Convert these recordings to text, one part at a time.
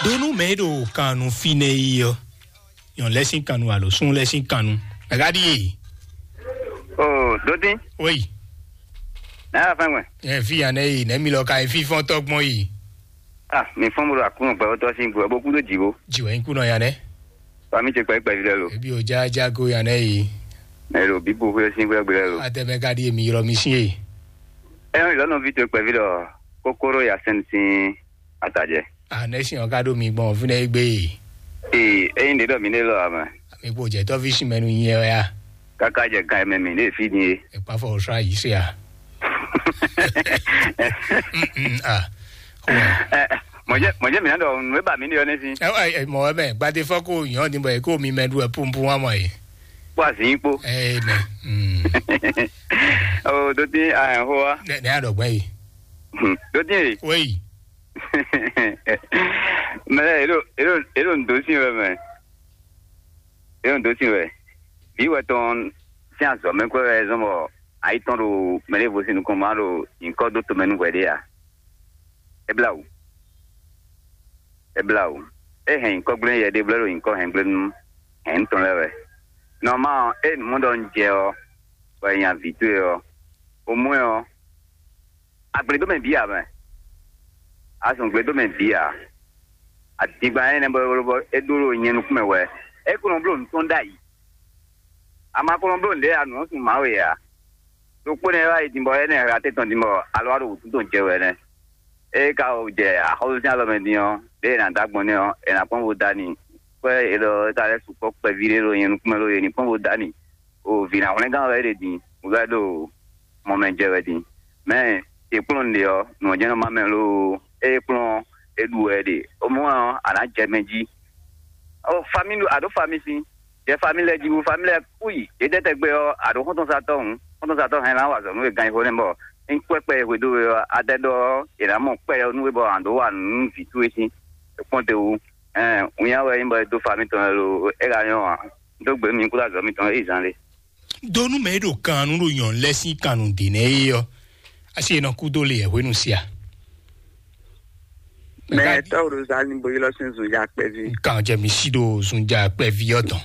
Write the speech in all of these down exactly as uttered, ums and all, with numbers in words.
Donu mɛ e ɖo kannu fínɛ́ yi ɔ́, nyɔ̌nu lɛ́ɛ sín kannu alo súnnu lɛ́ɛ sín kannu. Mɛ̌ ká ɖíe? O, Dótín, Wéyi, nǎ yà fɛ́n gbɛn. Ɛ fí ya nɛ́ yi, nɛ̌ mi lɔ ka yi fífɔ́n tɔ́gbɔn yi? Ah, mi fɔ́n bo ɖo Aklúnɔ gbɛtɔ́ sín gbe, bó kú dó jǐ bó. Jǐ wɛ nyí kúnɔ ya nɛ́. Bá mi ce kpɛví kpɛví lɛ́ɛ lo. Ebi ò já já go ya nɛ́ yi. Mɛ lo bí bo xwé sín xwé gbe lɛ́ɛ lo. Atɛ mɛ ka ɖíe mi ylɔ́ mi sín e? Ɛ lɔnà ví to kpɛví ɖɔ kókóró ya sɛn sín atajɛ. A nɛ́ sin ɔ́ ká ɖo mi gbɔn fínɛ́ é gbé e? Ee, ényí ɖě ɖɔ mi ɖe lɔ ame. Mi kpo jɛ tɔ́ví sin mɛ nu nyi ɛ wɛ a? Kaka jɛ gan mɛ mi ɖe fi din e. Ɛ kpa fɔ sra yi se a? Mm, mm, ah. Xo wɛ. Ɛ, mɔjɛ mɔjɛ mi na ɖɔ nù e ba mi ɖe ɔ ne si. Ɛ, ɛ, ɛ, mɔ wɛ mɛ gbadé fɔ ko yɔn ni bɔ e ko mi mɛ ɖu ɛ pumpu wa mɔ ye. Kpó azin kpó. Ɛ nɛ. Mm. O, dótín a hɛn xó wa. Nɛ nɛ a ɖɔ gbɛ yi. Dótín e. Wéyi. Mɛ lɛ, elo elo elo ndo sin wɛ mɛ. Elo ndo sin wɛ. Bí wɛ tɔn sín azɔ̌ mɛ kwɛ wɛ zɔn bɔ ayi tɔn ɖo mɛ ɖěvo sín nukɔn ma ɖo nyǐkɔ dó tomɛ nú hwɛ ɖé a? É blá wǔ. É blá wǔ. É hɛn nyǐkɔ gblé yɛ ɖé blɛ́ ɖo nyǐkɔ hɛn gblé nú hɛn tɔn lɛ́ɛ wɛ. Nɔmá ɔ́, é nǔ mɔ ɖɔ un jɛ ɔ́, bɔ è nya vǐ towe ɔ́, o mɔ ɛ ɔ́, a gblě dó mɛ bǐ ǎ mɛ. A zɔn gblě dó mɛ bǐ ǎ. Adingban énɛ́ bɔ é ɖó é ɖó nyɛ nukún mɛ wɛ. É ko nɔ bló nǔ tɔn ɖ'ayǐ. A ma ko nɔ bló nǔɖé ǎ, nǔ ɔ́ sun Mawu e ǎ. Ɖokpó nɛ́ wá yi din bɔ énɛ́ hla tɛ́n tɔn din bɔ alɔ wá ɖo wǔtu tɔn jɛ wɛ nɛ́. Ée ka jɛ axɔ́súsɛ́n alɔ mɛ din ɔ́, ɖěe è nǎ dó agbɔn nɛ́ ɔ́, è nǎ kpɔ́n bó dó ani. Kpɛ́ è ɖɔ é ka lɛ́ sukpɔ́ kpɛví ɖé ɖo nyɛ nukún mɛ ló, è ní kpɔ́n bó dó ani. O vǐ ná hwlɛ́ngán wɛ é ɖe din, bó ka ɖo mɔ mɛ jɛ wɛ din. Mɛ e kplɔ́n un ɖe ɔ́, nǔ ɔ́ jɛ́n nɔ má mɛ loo, ée kplɔ́n ɔ́, é ɖu wɛ é ɖe. O mɔ ɔ́, a nǎ jɛ mɛ jí. O fami ɖo a ɖǒ fami sín, jɛ fami lɛ́ɛ jí bú, fami lɛ́ɛ kú yi. Yě dɛ́ tɛgbɛ ɔ́, a ɖǒ xɔ́ntɔn sa tɔn hǔn, xɔ́ntɔn sa tɔn hɛn ná wa azɔ̌ nú we gan xo nɛ́ bɔ é kpɛ́ kpɛ e hwedó we ɔ́, a dɛ ɖɔ ɔ́, è nǎ mɔ kpɛ ɔ́ nú we bɔ a ɖǒ wa nǔ nú vǐ towe sín. É kpɔ́n te wú. Ɛn, winnyá wɛ nyí bɔ è dó fa mitɔn wɛ lo, é ka nyɔ́ ǎ. Un dó gbe mi kúdó azɔ̌ mitɔn é yi zan lé. Donu mɛ e ɖo kan nú ɖo nyɔ̌nu lɛ́ɛ sín kannú ɖě nɛ́ é ɔ́, asi e nɔ kú dó le yɛ hwenu sia. Mɛ tɔ́ ɖo zani bo ylɔ́ sín zunja kpɛví. Kan jɛ mi sí ɖo zunja kpɛví ɔ́ tɔn.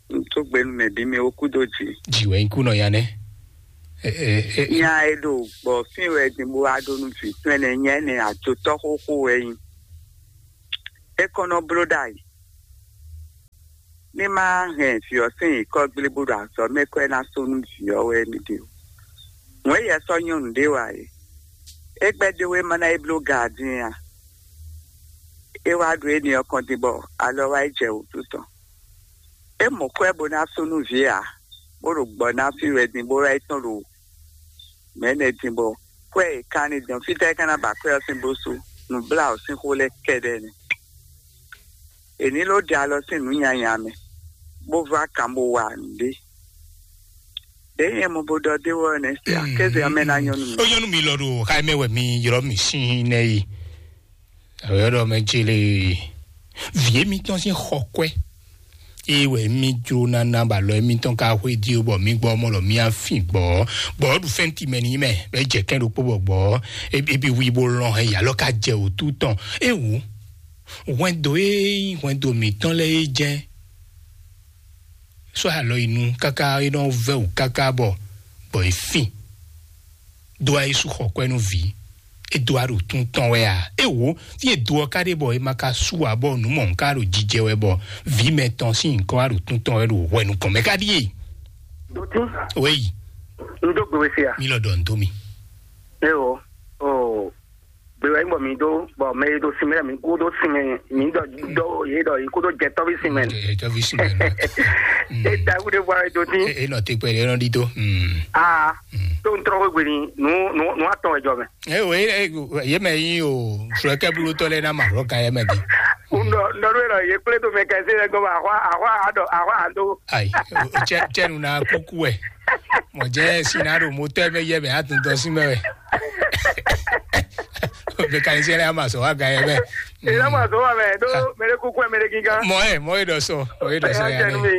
Un tó gbenu mɛ bí mi ó kú dó jì. Jì wɛ nyí kú nɔ ya nɛ́. Nya e ɖo gbɔ fín wɛ din bó wá ɖó nú vǐ tɔn ɛnɛ, nya ɛnɛ ajotɔ́ xóxó wɛ nyí. É kɔn nɔ bló ɖ'ayǐ. Ní má hɛn vǐ ɔ́ sín nyǐkɔ gblé bó ɖo azɔ̌ mɛ kɔ é ná sú nú vǐ ɔ́ wɛ mì ɖe o. Wɛ̌n yɛ sɔ́ nyɔ́ nǔɖé wa é. É gbɛ́ ɖé wé má ná é bló gaadín a? É wá ɖo énɛ́ ɔ́ kɔn din bɔ alɔ wá yi jɛ wǔtu tɔn. É mɔ kwɛ́ bó ná sú nú vǐ ǎ, bó ɖo gbɔ ná fí wɛ din bó wá yi tɔn ɖo mɛ̌nɛ din bɔ kwɛ́ e kan ní dɔn fítɛ́ é ka ná ba kwɛ́ ɔ́ sín bó sú nǔbláwǔ sín xó lɛ́ɛ kɛ́ɖɛ́ nɛ́. È ní ló ɖe alɔ sín nǔ nyanya mɛ, bó vá kan bó wa nǔɖé. Ɖěe nyɛ mɔ bó ɖɔ dé wɔ nɛ́ se akéze ɔ́ mɛ ná nyɔ́ nú mi. Ó nyɔ́ nú mi lɔ ɖo xá mɛ wɛ mi ylɔ́ mi sín nɛ́ yi. Àwẹ̀ ɖɔ mɛ jele vǐ émítɔn sín xɔ kwɛ́. Ée wɛ mí jló ná ná bɔ alɔ émítɔn ka xwedí ó, bɔ mí gbɔ mɔ ɖɔ mí á fin gbɔ̌. Gbɔ̌ ɖu fɛ́nti mɛ ní mɛ, bɔ é jɛ kɛ́n ɖokpó bɔ gbɔ̌ é bí wi bó lɔn hɛn yi alɔ ka jɛ wǔtu tɔn. É wǔ, hwɛndo e nyí hwɛndo mǐtɔn lɛ́ɛ é jɛ́n. Sɔ́ alɔ yi nu káká é nɔ vɛ́ wǔ káká bɔ gbɔ é fin. Dó wá Yésu xɔ kwɛ́ nú vǐ. É dó wá ɖo tún tɔn wɛ a? É wǒ, fí e do ɔ́ ka ɖe bɔ é ma ka sú ǎ, bɔ nǔ mɔ̌ ka ɖo jijɛ wɛ, bɔ vǐ mɛtɔn sín nyǐkɔ wá ɖo tún tɔn wɛ ɖo hwɛ nukɔn mɛ ká ɖíe. Dotí, Wéyi, un dó gbe we se a? Mi lɔ ɖɔ nǔ dó mi. Eo, o, gbe wɛ nyí bɔ mi dó, bɔ mɛ e ɖo sin mɛ mi kú ɖó sin mɛ, mi ɖɔ ɖɔ yě ɖɔ yě kú ɖó jɛ tɔ́ví sin mɛ. Jɛ tɔ́ví sin mɛ nɔ. É da wúɖe vɔ ayé dotí. E nɔ te kpɛ ɖe nɔ ɖi dó. Aa, tó ń tɔrɔ wégbé ni, nù nù nù atɔn wɛ jɔ mɛ. Ɛ o, e e ye mɛ yi o, srɔkɛ bulu tɔ lɛ na ma rɔ ka yɛ mɛ bi. Ndɔ ndɔ ɖo yɛ ye kple to mɛ kɛse lɛ gɔmɔ ahwa ahwa adɔ ahwa ado. Ayi, cɛ cɛ nu na kuku wɛ. Mɔ jɛ si na ɖo motɔ mɛ yɛ mɛ atun tɔ si mɛ wɛ. Mɛ ka yi sɛ lɛ ama sɔ wa ga yɛ mɛ. Ela ma sɔ wa mɛ do mɛ de kuku mɛ de gigan. Mɔ ɛ mɔ e dɔ sɔ, mɔ e dɔ sɔ ya ne.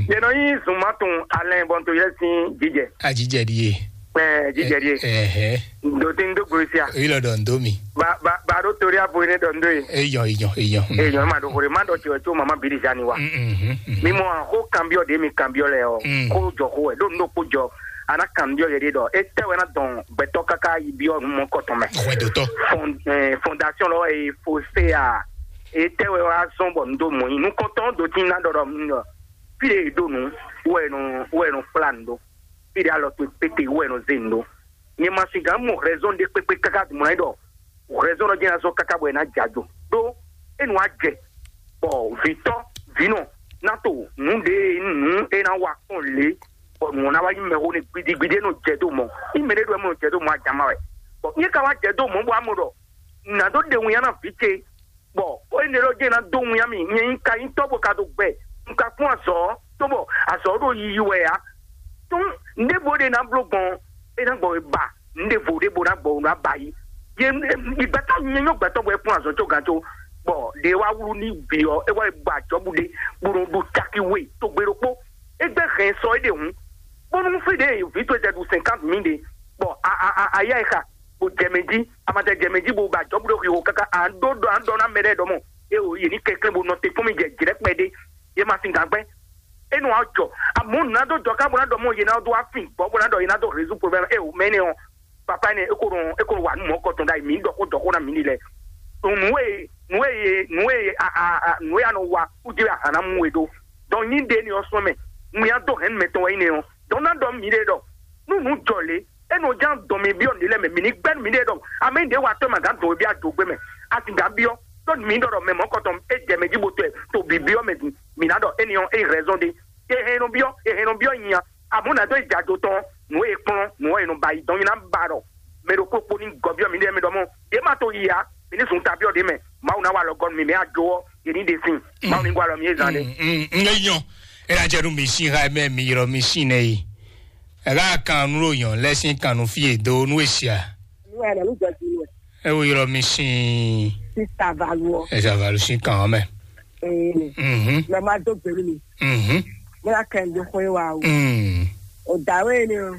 Yɛ nɔ yi zun ma tun alɛ bɔn to yɛ sin jijɛ. A jijɛ di ye. Ɛ, jíjɛ ɖíe. Ɛhɛ. Ndo tí ń dó gbe sia. Eyi lɔ ɖɔ ndo mi. Ba ba ba ɖo torí abo ne ɖɔ ndo ye. Eyɔ eyɔ eyɔ. Eyɔ ma ɖo xore ma ɖɔ tiwɛ tso mama biri zani wa. Mi mɔ xó kanbiɔ ɖe mi kanbiɔ lɛ ɔ. Mm. Xó jɔ xó wɛ ɖo ndo kpó jɔ. Ana kanbiɔ yɛ ɖe ɖɔ. E tɛ wɛ na dɔn gbɛtɔ kaka yi biɔ nu mɔ kɔtɔn mɛ. Xɔɛ dotɔ. Fond- ɛ, fondation lɔ e fo se a. E tɛ wɛ wa zɔn bɔ ndo mɔ yi nukɔntɔn do tí na ɖɔ ɖɔ mi ɖɔ. Fi ɖe e ɖo nu wɛ nu wɛ nu kpla nu ɖo. Fi ɖe alɔ to kpete wɛ nɔ zé nu ɖo. Nyɛ ma si gǎn mɔ hɛzɔn ɖe kpekpe káká mɔ ɛ ɖɔ hɛzɔn ɖɔ jɛ́n azɔ káká bɔ ɛ ná jɛ ajo ɖó. E nu wá jɛ bɔ vǐtɔ vǐnɔ ná to nǔ ɖe nǔ e ná wa kpɔn lě bɔ nǔ ɔ́ ná wá nyí mɛxó nɛ gbidigbidi e nɔ jɛ dó mɔ. Ní mɛ ɖé ɖo ɛ mɔ nɔ jɛ dó mɔ ajama wɛ. Bɔ nyɛ ka wá jɛ dó mɔ bɔ amɔ ɖɔ nǎ dó ɖe winnyá ná vǐ ce. Bɔ ó nyí ɖɔ jẹ́ ná dó winnyá mì nyɛ nyí ka nyí tɔ́ bó ka dó gbɛ. Un ka kpɔ́n azɔ̌ ɔ́, cóbɔ azɔ̌ ɔ́ ɖo yiyi wɛ ǎ. Tún nǔɖé bó ɖe ná bló gbɔn é ná gbɔ wɛ ba nǔɖé vo ɖé bó ná gbɔ wɛ ná ba yi. Yé ìgbà tá nyɛ nyɔ́ gbɛtɔ́ bɔ é kpɔ́n azɔ̌ có gán có. Bɔ ɖě wá wlú ní bǐ ɔ́, é wá yi ba ajɔ̌ bú ɖé bó nɔ ɖu caki we tó gbe ɖokpó. É gbɛ́ hɛn sɔ é ɖe hǔn. Bónú fí ɖě vǐ towe jɛ ɖu cinquante mille ɖe, bɔ a a a a yá ɛ xa, bó jɛ mɛ jí, a ma jɛ jɛ mɛ jí bó ba jɔ̌ bó ɖo xixo káká a ɖó ɖɔ a ɖɔ ná mɛ ɖɛ́ ɖɔ mɔ. É o yě ní kɛnklɛ́n bó nɔ te kpɔ́n mì jɛ jǐ ɖɛ́ kpɛɖé. Yě ma sin gǎn gbɛ́. É nɔ wá jɔ. Amɔ̌ nǔ ná dó jɔ ká bó ná ɖɔ mɔ yě ná dó wá fin gbɔ̌ bó ná ɖɔ yě ná dó rézu problème é o mɛ énɛ́ ɔ́. Papa énɛ́ é ko nɔ é ko nɔ wa nǔ mɔ̌ kɔtɔn ɖ'ayǐ mǐ ɖɔ xó jɔ xó ná mǐ ní lɛ́ɛ. Nǔ e nǔ e nǔ e a a a nǔ e a nɔ wa kú jí wɛ a hǎn ná mú we ɖó. Dɔn nyí ɖe énɛ́ ɔ́ sɔ́ mɛ. Nǔ ya dó hɛ̌nnu mɛtɔn wɛ nyí nɛ́ ɔ́. Dɔn ná ɖɔ mǐ ɖe ɖɔ nú nǔ jɔ lě, é nɔ ján dɔn mi byɔ́ nǔ lɛ́ɛ mɛ, mǐ ní gbɛ́ nǔ mǐɖée ɖɔ amɛ ɖě wa tɔ́ ma gǎn dɔn bí ajo gbé mɛ. A sì gǎn byɔ́ ɖɔ mǐ ɖɔ ɖɔ mɛ mɔ̌kɔtɔn é jɛ mɛ jí bo tɔɛ to bǐ byɔ́ mɛ din, mǐ ná ɖɔ énɛ́ ɔ́ é rɛzɔn ɖé. È hɛn nɔ byɔ́, è hɛn nɔ byɔ́ nyi a. Amɔ̌ nǎ dó yi jɛ ajo tɔn, nǔ e è kplɔ́n, nǔ ɔ́ è nɔ ba yi dɔn nyi ná ba ɖɔ mɛ ɖokpó kpó ní gɔ́ byɔ́ mǐɖée mɛ ɖɔ mɔ̌, yě ma to yi ǎ, mǐ ní zun ta byɔ́ ɖě mɛ. Mawu ná wa alɔ gɔ́ nú mi, mǐ a jó ɔ́, yě ní ɖe sin. Mawu ní gwa alɔ mǐ e zán ɖé. Ŋlɛ́nyɔ, é ná jɛ nú mi sín xá mɛ mi ylɔ́ mi sín nɛ yi. Ɛ ká kan nú ɖo nyɔ̌nu lɛ́ɛ sín kan nú fí e dó nú e sia. Nú ɛ nɔ ní jɔ jí nú ɛ. É wo ylɔ́ mi sín. Sísá Valu ɔ. Ɛ zavalu sín kan ɔ́ mɛ. Ee. Mhm. Lọ ma dó gbèlú mi. Mhm. Mo la kẹ́ ń dó xwé wa o. Mm. O dǎ wé ni o.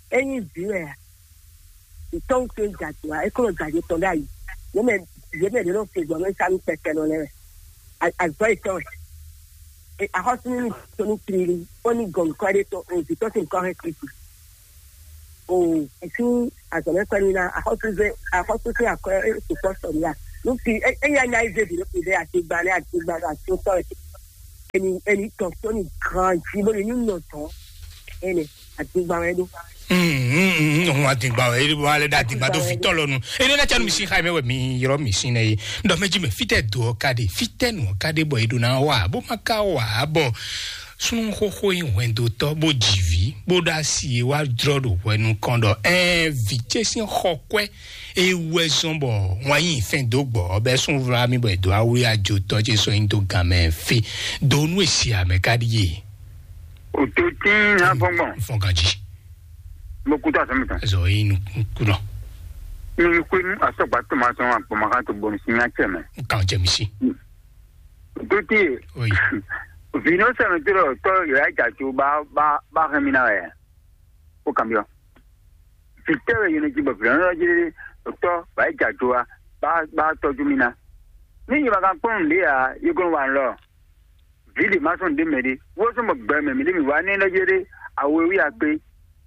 Enyi vǐ wɛ a? Ìtɔ́wù tó ń jàjò wa, é kó ló jàjò tɔn ɖ'ayǐ. Yě mɛ yě mɛ ɖě nɔ fe gbɔn nú sánú kpɛkpɛ nɔ lɛ́ɛ wɛ. Azɔ̌ yětɔn wɛ. Axɔ́sú ní tó ní tlílí, ó ní gɔn nǔkɔ ɖé tɔn, òbí tɔn sín nǔkɔ hɛn Kristi. O, èsú azɔ̌mɛ́kpɛ́ ní ná axɔ́súzé axɔ́súzé akwɛ́ sukpɔ́ sɔmía. Nú fi é é nya nya ézé bǐ ɖó fi ɖé atigba nɛ́ atigba ɖo atótɔ́ ɛ. Eni eni tɔn tó ní gran jí bó ní nú nɔ tɔn. Ene atigba wɛ ɖó. Hun adigba wɛ e wa lɛ ɖe adigba ɖo vitɔ lɔ nu. Ene na canu mi si xa mɛ wɛ mi yɔrɔ mi si nɛ ye. Ndɔ mɛ ji mɛ fitɛ do ɔ ka ɖe fitɛ nu ɔ ka ɖe bɔ e ɖo na wa bó ma ka wa bɔ. Sunu xoxo yi hwɛndotɔ bó dzi vi bó ɖo asi e wá drɔ ɖo hwɛ nukɔn ɖɔ ɛɛ vi ce sín xɔ kwɛ e wɛ zɔn bɔ wọn yi fɛn dó gbɔ bɛ sún vla mi bɔ e dó awli ajo tɔ ce sɔ yin dó gan mɛ fe do nu esi amɛ ka ɖi ye. O tó tín ní afɔngbɔn. Fɔn ganji. Mo kú tó asɔmi tán. Zɔ yi nu kunɔ. Mi kú ní asɔgba tó ma sɔn agbɔnmakan tó bɔnu sí ní acɛ mɛ. Kan jɛ mi si. Dókítà, oui. Vino sɛmɛ tó lɔ tɔ yɛ ja jo ba ba ba hɛn mi na wɛ. Ko kan bi ɔ. Fitɛ wɛ yɛn ji bɔ vino lɔ ji tɔ ba ja jo wa ba ba tɔju mi na. Ni yi ma kan kpɔn le ya yi ko wa lɔ. Vili ma sɔn de mɛ de. Wo sɔn bɔ gbɛ mɛ mi de mi wa ne lɔ je de. Awe wi akpe.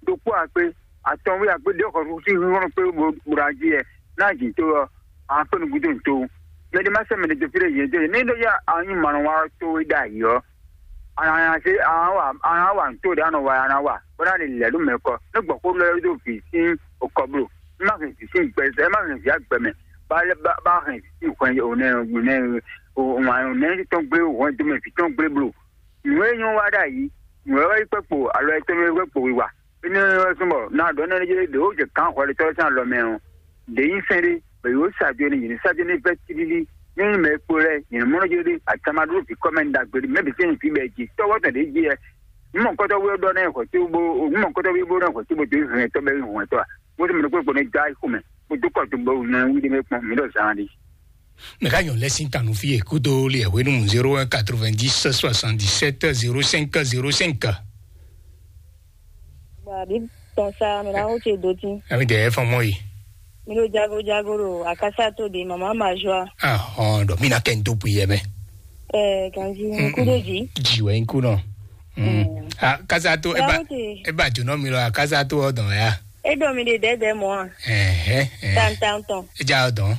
Dokpó akpé atɔn wí akpé ɖé xɔ sí híhɔ́n kpé bó ɖo ají ɛ ná jǐ tó ɔ́, a kpé nukúntó tó. Mɛ ɖé má sɛ́ mɛ ɖé dó fí ɖé yě dó ní ɖó yá a nyí mɔ̌ wa tó wí ɖ'ayǐ ɔ́, a nǎ se a nǎ wa a nǎ wa nǔ tó ɖé a nɔ wa a nǎ wa bó ná lè lɛ̌ ɖó mɛ kɔ ní gbɔ̌ xó lɛ́ ɖó vǐ sín okɔ bló. Ní má hɛn vǐ sín gbɛ ɛ má hɛn vǐ agbɛ mɛ bá lɛ́ bá bá hɛn vǐ sín hwɛn ònɛ ònɛ ònɛ tɔn gblé hwɛn dó mɛ vǐ tɔn gblé bló. Nǔ e nyɔ́ wa ɖ'ayǐ, nǔ e wɛ yi kpɛkpo alɔ etɔn e kpɛkpo wiwa. Énɛ́ ɔ́ sɔ́ bɔ ná ɖɔ nɛ́ ɖé ɖě wó jɛ gǎn hwɛɖetɔ́ sín alɔ mɛ ɔ́, ɖě nyí sɛ́n ɖé, bɔ yě wó sa jo n'i, yě ní sa jo n'i vɛ́ tílílí. Ní nyí mɛ e kpo lɛ́ɛ, yě ní mɔ nɔ jo ɖé atamadu ɖo vǐ kɔ́ mɛ ɖagbe ɖé, mɛ bǐ sɛ́n nyí vǐ bɛɛ ji tɔ́wɔ́ tɔn ɖě jí ɛ. Nǔ mɔ̌kɔ́tɔ́ wé ɖɔ nɛ́ hwɛ̌ tó bó nǔ mɔ̌kɔ́tɔ́ wé bó nɛ́ hwɛ̌ tó bó dó hɛn tɔ́ bɛ́ hwɛ̌ tɔ́ a? Bó tó mɛ ɖokpó kpo nɛ́ dó ayixo mɛ, bó dó kɔ dó bɔ nɔ wí ɖé mɛ kpɔ́n, mǐ ɖɔ zán ɖi. Mɛ ka nyɔ lɛ sin tanu fi e kudo li e hwenu zéro un quatre-vingt-dix soixante-dix-sept zéro cinq zéro cinq. Tɔn sa, mi na wo ce do tin. Ami de fɔn mɔ yi. Mi ɖo jago jago ɖo akasa to de mama ma joa. Ah, hɔn ɖɔ mi na kɛ n to bui yɛ mɛ. Ɛ ganji n ku ɖo dzi. Dzi wɛ n ku nɔ. Mm. Ah, kasa to e ba, e ba jonɔ mi lɔ akasa to ɔ dɔn ya. E dɔ mi de dɛdɛ mɔ a. Ɛhɛ. Tan tan tɔn. E ja ɔ dɔn.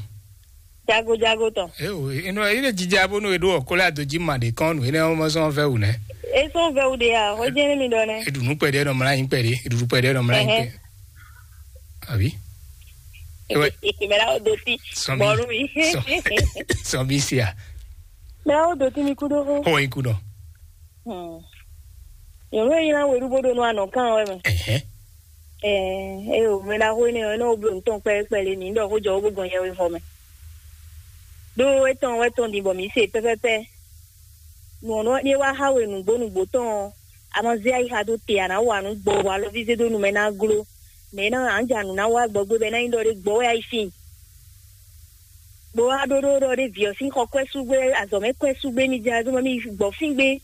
Jago jago tɔn. Ewo, inu ine jija bónú e ɖó ɔkɔlɛ adojí ma ɖe kɔn nǔ énɛ́ ɔ́ mɔ sɔn vɛ wǔ nɛ. E sɔn vɛ wǔ ɖe a, o jɛ ne mi ɖɔ nɛ. E ɖu nú kpɛɖé nɔ mla nyi kpɛɖé, e ɖu nú kpɛɖé nɔ mla nyi kpɛ. Abi. Ewe. Mɛ la o do ti. Sɔn bi. Bɔlu mi. Sɔn bi sia. Mɛ la o do ti mi kudo ho. Ho yi kudo. Hmm. Nyɔnu e nyina weɖú bó ɖo nú anɔ kan wɛ mɛ. Ɛhɛn. Ɛɛ, eye wòmɛ ɖaxó énɛ́ ɔ́, é nɔ bló nǔ tɔn kpɛɖé kpɛɖé, mǐ ɖɔ xó jɔ wó bó gɔn yɛwexɔ mɛ. Ɖó étɔn wɛ tɔn din bɔ mǐ se pɛ́pɛ́pɛ́. Nǔ ɔ́ nɔ ɖé wá xá we nǔgbó nǔgbó tɔn ɔ́, a ma zé ayixa dó te, a nǎ wa nǔ gbɔ, bɔ alɔví zé dó nu mɛ ná gló. Mɛ ná ǎ ja nǔ ná wá gbɔgbé bɔ é ná nyí ɖɔ ɖé gbɔ wɛ a yi sin. Bó wá ɖó ɖó ɖɔ ɖé vǐ ɔ́ sín xɔ kwɛ́ sú gbé, azɔ̌ mɛ kwɛ́ sú gbé, mi jɛ azɔ̌ mɛ mi gbɔ fín gbé.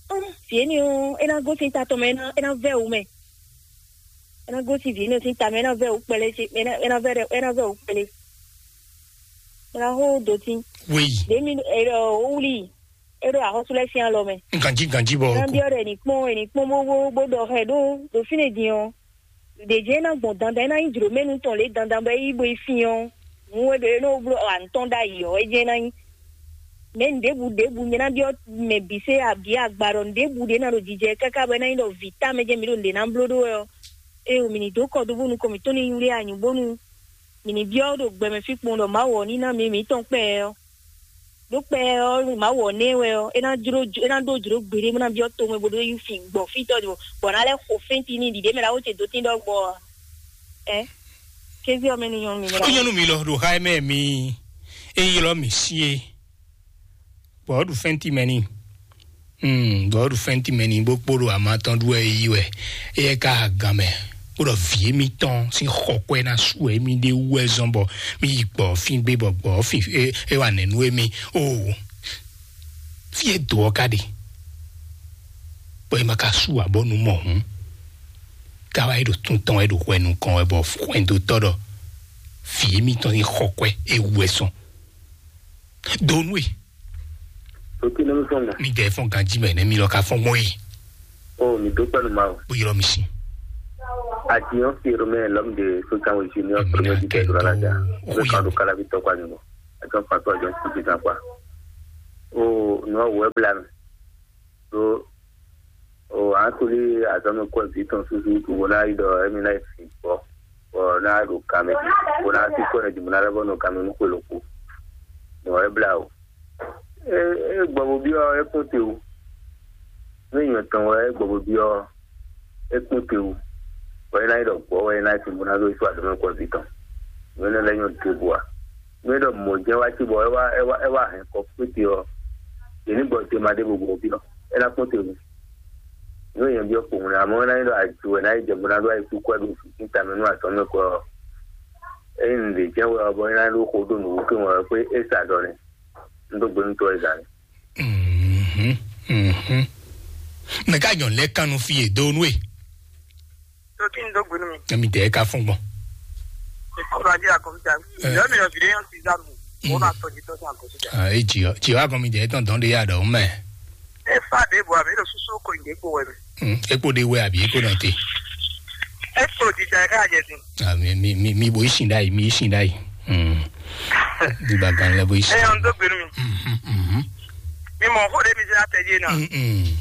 Ɔ́n, vǐ énɛ́ ɔ́, é ná gosín ta tɔn mɛ, é ná, é ná vɛ́ wǔ mɛ. É ná gosín vǐ énɛ́ sín ta mɛ, é ná vɛ́ wǔ kpɛlɛ, é ná, é ná vɛ́ ɖɛ, é ná vɛ́ wǔ kpɛlɛ. É ná xó dotín. Wéyi. Ɖě mi, é ɖɔ, ó wlí, é ɖo axɔ́sú lɛ́ɛ sín alɔ mɛ. Ganjí ganjí bɔ. É ná byɔ́ ɖɔ è nǐ kpɔ́n, è nǐ kpɔ́n bó, bó, bó ɖɔ xɛ ɖó, ɖo fínɛ́ din ɔ́. Ɖě jɛ́n é ná gbɔn dandan, é ná nyí jlǒmɛnu tɔn lě dandan bɔ é yí bo yi fín ɔ́, nǔ e ɖo é nɔ bló ɔ, anǔ tɔn ɖ'ayǐ ɔ́, é jɛ́n é ná nyí. Mɛ ɖěbǔ ɖěbǔ nyɛ ná byɔ́ mɛ bǐ se abǐ agba ɖɔ nǔɖěbǔ ɖě ná ɖo jijɛ káká bɔ é ná nyí ɖɔ vǐ támɛ jɛ́n mǐ ɖo nǔɖé ná bló ɖó wɛ ɔ́, ée mǐ ní dó kɔ dó bónú kɔn mǐtɔn ní nywlé anyǔ bónú mǐ ní byɔ́ ɖo gbɛ mɛ fí kpɔn ɖɔ Mawu ɔ́ ní ná mǐ mǐtɔn kpɛ ɛ ɔ́. Ɖó kpɛ ɔ́, Mawu ɔ́ nɛ́ wɛ ɔ́, é ná jló, é ná ɖó jlǒ gbeɖé bó ná byɔ́ tomɛ bó ɖó yi fin gbɔ fí tɔ́ bɔ ná lɛ́ xo fɛ́ntin ní ɖiɖě mɛ ná wó ce dó tín ɖɔgbɔ ɔ́. Ɛ, kézí ɔ́ mɛ ní nyɔ́ mi mɛ. Ó nyɔ́ nú mi lɔ ɖo xá ɛ mɛ mi é ylɔ́ mǐ sí é, bɔ ɔ́ ɖu fɛ́ntin mɛ n'i. Hmm, bɔ ɔ́ ɖu fɛ́ntin mɛ n'i bó kpo ɖo ama tɔn ɖu wɛ é yí wɛ. Éyɛ́ ka ha gan mɛ bó ɖɔ vǐ émítɔn sín xɔkwɛ ná su wɛ émí ɖé wú wɛ zɔ́n bɔ mí yi gbɔ fín gbé bɔ gbɔ fín é, é wa nɛ̌ nú émí. Oo, fí e do ɔ́ ka ɖe, bɔ é ma ka sú ǎ bɔ nú mɔ hǔn, ká wá yi ɖo tún tɔn wɛ ɖo hwɛ nukɔn wɛ bɔ hwɛndotɔ́ ɖɔ vǐ émítɔn sín xɔkwɛ é wú wɛ sɔn. Do nú e. Òkè ní sɔn mɔ. Mi dɛ fɔn ganji mɛ nɛ mi lɔ ka fɔn mɔ yi. O mi dó pɛnu ma o. Bó yọrọ mi si. Àti yàn fi èrò mẹ́rin lọ́mù de sókè àwọn ìṣe ní ọ̀pọ̀ Èmi náà méjì kẹ́ tẹ̀síwá tó lájà. Ó Ó yà kàn mí. Ló kára bí tọ́kọ àyùmọ̀. Àjọ pàtó àjọ kùtì kan pa. O nù ọ̀wọ́ ẹ̀ bla mi. So, o, an tuli azɔn kɔ vi tɔn susu tu bo na yi dɔ emi na yi fi bɔ, bɔ na ɖo kan mɛ, bo na si kɔ ne di bo na lɛ bɔ nɔ kan mɛ nu xwe loko. Nɔ e bla o. E, e gbɔ bo biɔ e kpɔn te o. Ne nyɔ tɔn wɛ e gbɔ bo biɔ e kpɔn te o. Wɛ na yi dɔ gbɔ wɛ na yi fi bo na do isu azɔn kɔ vi tɔn. Nɔ ne lɛ nyɔ te bo a. Nú é ɖɔ mɔ̌ jɛ́n wá cí bɔ é wá é wá é wá hɛn kɔ kpéte ɔ́, yě ní gbɔ tema ɖěvo gbɔ fí ɔ́, é ná kpɔ́n te nu. Nú èèyàn byɔ́ kpowun lɛ, amɔ̌ é ná nyí ɖɔ aju wɛ ná yi jɛ bó ná ɖó ayikúkú wɛ ɖo fǐfín tamɛ nú azɔ̌ mɛ kɔ ɔ́, ényí nǔɖé jɛ́n wɛ ɔ́, bɔ é ná ɖó xo ɖó nǔwúkɛ́n wɛ ɔ́, xwé é sa ɖɔ nɛ́. Un dó gbe nú tɔ́ e zǎn. Mhm, mhm. Mɛ ká nyɔ lɛ kan nu fi e do nu e. Tó kí n dó gbénu mi. Emi tɛ ka fún gbɔn. Ìkọlù ajé àkọ́míjà. Ẹ. Ìyá mi lọ bìrì yẹn ti dá mi. Ó náà tọ́jú tọ́jú àkọ́síjà. Ah, e jì ọ́ jì ọ́ akɔmi jẹ́ tán dán de yà dọ̀ mẹ́. Ẹ fà dé bò àmì lọ súsú kò ìdè kò wẹ̀ mi. Hmm, epo de wɛ àbí epo náà tè. Ẹ kò jíjà ẹ ká jẹ sí. Ah, mi mi mi mi bo isin dai mi isin dai. Hmm. Di ba gan lɛ bo isin. Ẹ yàn dó gbénu mi. Mhm, mhm. Mi mọ̀ kó de mi ṣe àtẹ̀jé náà. Mhm.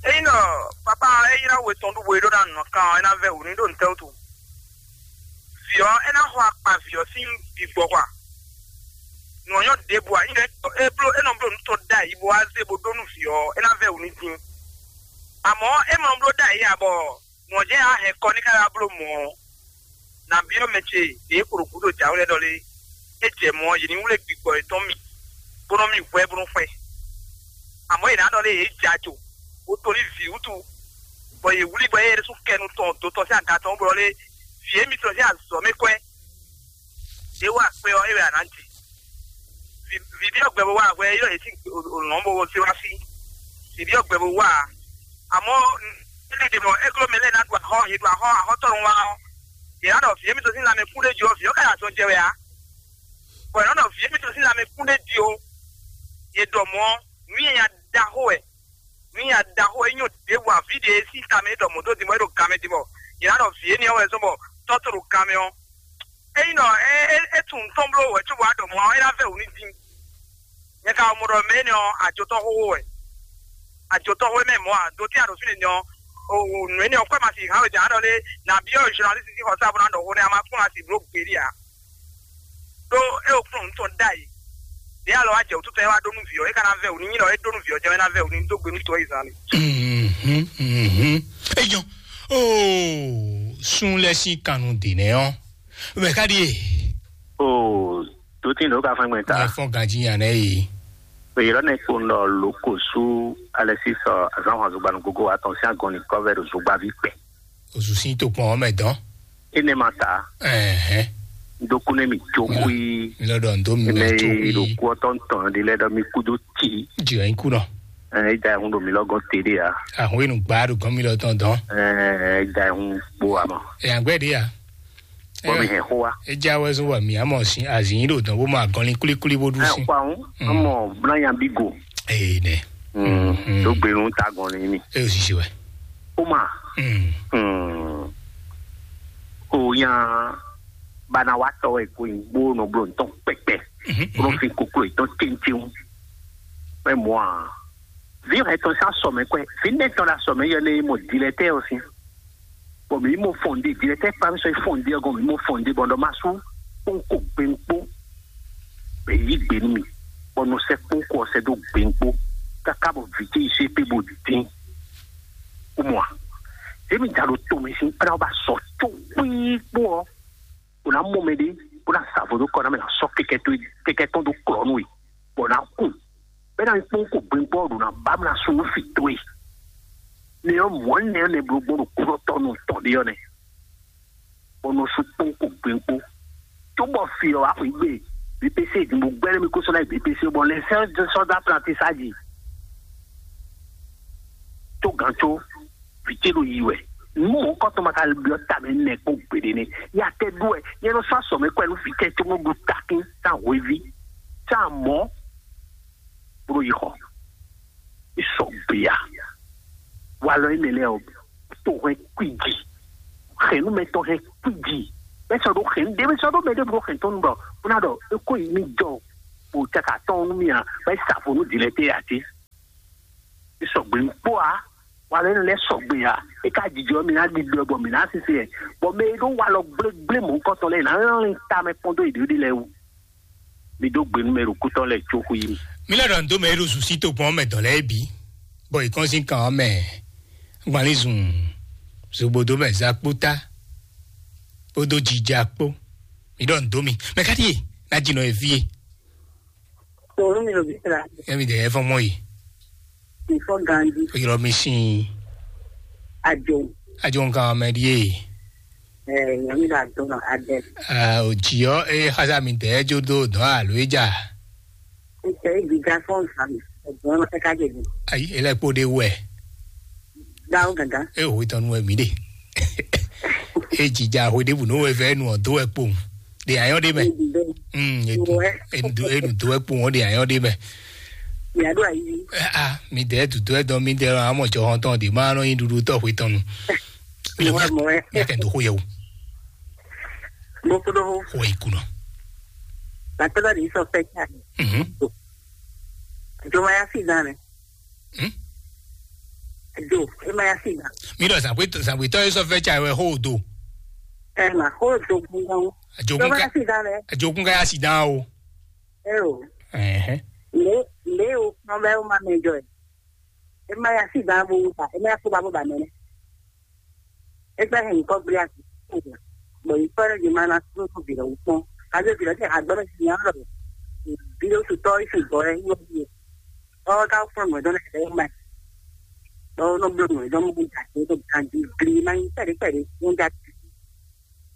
Eyín náà, pápá eyín náà wò tán dúgbò yìí ló náà nù kàn ẹ́ náà vẹ́ òní ló ń tẹ́ òtún. Vǐ ɔ́, é ná xɔ akpa vǐ ɔ́ sín vǐgbɔ́xwa. Nǔ ɔ́ nyɔ́ ɖěbǔ ǎ, nyí é bló é nɔ bló nǔ tɔn ɖ'ayǐ bó wá zé bó ɖó nú vǐ ɔ́, é ná vɛ́ wǔ ní dín. Amɔ̌ é ma bló ɖ'ayǐ ǎ bɔ nǔ ɔ́ jɛ́n á hɛn kɔ ní ká wá bló mɔ̌ ɔ́, nǎ byɔ́ mɛ ce yě kpo ɖo gǔdo jǎwe lɛ́ɛ ɖɔ lé, é jɛ mɔ̌ ɔ́, yě ní wlé gbigbɔ yětɔn mì, bó nɔ́ mì hwɛ bó nɔ́ xwɛ. Amɔ̌ yě ná ɖɔ lé yě jɛ ajo, bó to ní vǐ wútu, bɔ yě wlí bɔ é ɖésú kɛ nu tɔn do tɔn sín aga tɔn bó ɖɔ lé, vǐ émítɔn sín azɔ̌ mɛ kwɛ́. Yě wa kpé ɔ́, é wɛ a nǎ ji. Vǐ vǐ ɖé ɔ́ gbɛ bó wá hwɛ é ɖɔ yě sín lɔ̌n bó se wá fí. Vǐ ɖé ɔ́ gbɛ bó wá ǎ. Amɔ̌, Éɖé ɖe mɔ égló mɛ lɛ́ɛ ná ɖu axɔ́, yě ɖu axɔ́, axɔ́tɔ́ nɔ wá ɔ́, yě ná ɖɔ vǐ émítɔn sín lanmɛ kún ɖé jí ɔ́, vǐ ɔ́ ka ɖo azɔn jɛ wɛ ǎ. Bɔ yě nɔ ɖɔ vǐ émítɔn sín lanmɛ kún ɖé jí ó, yě ɖɔ mɔ̌, nǔ nyanya ɖaxó wɛ, nǔ nyanya ɖaxó wɛ, é nyɔ ɖěbǔ ǎ, vǐ ɖě sín tamɛ é ɖɔ mɔ̌ dó din bɔ é ɖo gan mɛ din bɔ yě ná ɖɔ vǐ énɛ́ ɔ́ wɛ zɔ́n bɔ tɔ́ tó ɖo gan mɛ ɔ́. Ényí nɔ é é é tunwun tɔn bló wɛ cóbɔ wá ɖɔ mɔ̌ ɔ́, é ná vɛ wǔ ní din. Nyɛ ka mɔ ɖɔ mɛ énɛ́ ɔ́, ajotɔ́ xóxó wɛ. Ajotɔ́ xó mɛ mɔ̌ ǎ, do tɛ́ a ɖo fínɛ́ din ɔ́, o o nǔ énɛ́ ɔ́, kwɛ ma si hǎn wɛ din a ɖɔ lé, nǎ byɔ́ journaliste sín xɔsá bó ná ɖɔ xó nɛ́ a ma kplɔ́n asi bló gběɖé ǎ. Ɖó é o kplɔ́n nǔ tɔn ɖ'ayǐ. Ɖě alɔ wá jɛ wǔtu tɔn é wá ɖó nú vǐ ɔ́, é ka ná vɛ wǔ ní nyí ɖɔ é ɖó nú vǐ ɔ́ jɛ́n é ná vɛ wǔ ní dó gbe nú tɔ́ yi zán lé. Mhm, mhm. Ejɔ, oh, sun lɛ sín kannu dè nɛ ɔ́, mɛ ká ɖíe. O, tó tí lǒ ka fɛn gbɛn ta. Ɛ fɔn ganjí yan nɛ yi. Èyí lɔ nɛ kpo nɔ lóko sú alɛ sísɔ azán hɔn zugba nú gogo wa tɔn sín agɔn ní kɔvɛ ɖo zugbaví kpɛ. Oṣù sí tó kpɔn ɔmɛ dán. Ene ma ta. Ɛhɛn. Dokun ne mi tso xui. Mi lɔ dɔ ndo mi ene mɛ tso yi xui. Ɖo kú ɔtɔ ntɔn de lɛ dɔ mi kú do ti. Jì ɛ ń kú nɔ. Ɛ da ehun ɖo mi lɔgɔn te de ya. Ahun enu gba ɖo gɔn mi lɔ tɔn dán. Ɛ da ehun kpo ama. Ɛ àgbẹ̀ de ya. Bɔ mi hɛn xó wa. Edza wɛ zɔn wa mi amɔ sin azin ɖo dɔn bó ma gɔnlin kulikuli bó ɖu Ɛ sin. Kpa ŋu. Mm. Amɔ blanyan bi go. Ee nɛ. Mm. Mm. Ɖo gbenu ta gɔnlin mi. E o sisi wɛ. O ma. Mm. Mm. O yan bana wa tɔ wɛ ko yin gbó nɔ blo ntɔn kpɛkpɛ. Mhm, mhm. Bro fin koklo itɔn tɛntɛn. Mɛ mɔ a. Vi hɛ tɔn sa sɔmɛ kɔɛ. Vi nɛ tɔn la sɔmɛ yɛ ne mɔ dilɛ tɛ o sin. Bɔn mi mɔ fɔnde dilɛ tɛ kpa mi sɔ fɔnde ɔgɔn mi mɔ fɔnde bɔn dɔ ma su kpɔnkɔ gbɛnkpo. Bɛ yi gbe nú mi. Bɔn nɔ sɛ kpɔnkɔ sɛ do gbɛnkpo. Kaka bɔ vijɛ yi se pe bo dín. O mɔ a. Emi da ɖo to mi sin kpla ba sɔ tso kpikpo ɔ. O na mɔ mɛ ɖe. O na sa vo do kɔ na mɛ na sɔ kɛkɛ to kɛkɛ tɔn do klɔ nú e. Bɔ na kun. Bɛ na kpɔn ko gbɛngbɔ ɖo na ba mla sunu fi to e. Ne yɔ mɔ ne ne blo gbɔn ɖo kúrɔ tɔ nɔ tɔ ɖe yɔ nɛ. Bɔ nɔ su kpɔn ko gbɛngbɔ. Tó bɔ fi ɔ axɔ igbe. B P C di mo gbɛrɛ mi ko sɔ na B P C bɔ lɛ sɛ sɔ da apprentissage. Tó gan tó vite ɖo yi wɛ. Nu mɔ kɔtɔ ma ka biɔ ta mɛ nɛ kpɔn gbeɖe ne. Ya tɛ ɖu wɛ. Yɛ nɔ sɔ asɔ mɛ kɔ ɛnu fi tɛ tó mɔ ɖu takin sa hwevi. Sa mɔ. Bro yi xɔ. Isɔ gbea. Walɔ yi mɛ lɛ o. To hɛn kwiji. Hɛnu mɛ tɔ hɛn kwiji. Bɛ sɔ ɖo hɛn ɖe bɛ sɔ ɖo mɛ ɖe bro hɛn tɔnu bɔ. Buna ɖɔ eko yi mi jɔ. O caka tɔnu mi a. Bɛ sa fo nu dilɛ te ati. Sɔgbe ŋkpɔ a, walɔ énɛ́ lɛ́ɛ sɔgbe a, é ka jijɔ mì ná ɖiɖɔ bɔ mì ná sise ɛ, bɔ mɛ e ɖó walɔ gblégblé mɔ̌hunkɔtɔn lɛ́ɛ ná lɛ́n ta mɛ kpɔ́n dó yěɖée lɛ́ɛ wú. Mi dó gbe nú mɛ ɖo kútɔ́ lɛ́ɛ có xwí mì. Mi lɛ́ ɖɔ nǔ dó mɛ e ɖo zǔsí tokpɔn ɔ́ mɛ dɔ̌n lɛ́ɛ bǐ, bɔ è kɔn sín kan ɔ́ mɛ gbanlízun, zogbodomɛ zakpótá kpódó jija kpó. Mi ɖɔ nǔ dó mi. Mɛ ká ɖíe ná jinɔ e fí e. Tòun mi ɖo bísí la. Emi ɖe ɛfɔ mɔ yi. Ìfɔ ganji. Oyɔrɔ mi sin. Ajo. Ajo nǹkan mɛ ɖíe. Ɛ nyɔmi la dɔn nɔ adɛ. Aa o jiyɔ e xasa mi tɛ jo do dɔn alo e ja. Ntɛ e gbiga fɔn nfa mi. Ɛgbọn ma tɛ ka jɛ bi. Ayi ele kpo de wɛ. Dawo gangan. E o tɔnu wɛ mi de. E jija ho de bu no wɛ fɛ nu ɔ do wɛ kpo. De ayɔ de mɛ. Mm, edu edu edu do wɛ kpo wọn de ayɔ de mɛ. Yàrá ayi. Ah, mi dɛ dudu ɛ dɔn mi dɛ lɔ amɔ jɔ hɔn tɔn de ma nɔ yin dudu tɔ hwe tɔn nu. Mi Mɔ nya mɔ ɛ. Mi kɛ do ho yɛ o. Mo kudo ho. Ho yi kunɔ. Latɔlɔ de sɔ fɛ ca. Mhm. Jomaya fi dan rɛ. Hmm? Jo, e ma ya si dan. Mi ɖɔ zangbe zangbe tɔ ye sɔ fɛ ca wɛ ho do. Ɛ ma ho do gbɔngàn. Ajogun Jomaya ka si dan rɛ. Ajogun ka ya si dan o. Ɛ o. Ɛhɛn. Le le o kpɔn bɛ o ma mɛ jɔ ɛ. E ma ya si dan bo ba e ma ya fo ba bo ba mɛ nɛ. Egbe hɛn kɔ gblé asi. Bɔ yi kɔ ɖe ma na sunu ko bi ɖe wukpɔn. Kaze bi ɖe te agbe me si nya ɖe. Bi ɖe su tɔ isu gbɔ ɛ yɔ bi. Ɔ ka fún mi dɔn ne kɛ ma. Ɔ no blo mi dɔn mu ja ti to kan di gli ma yi pɛde pɛde mu ja ti.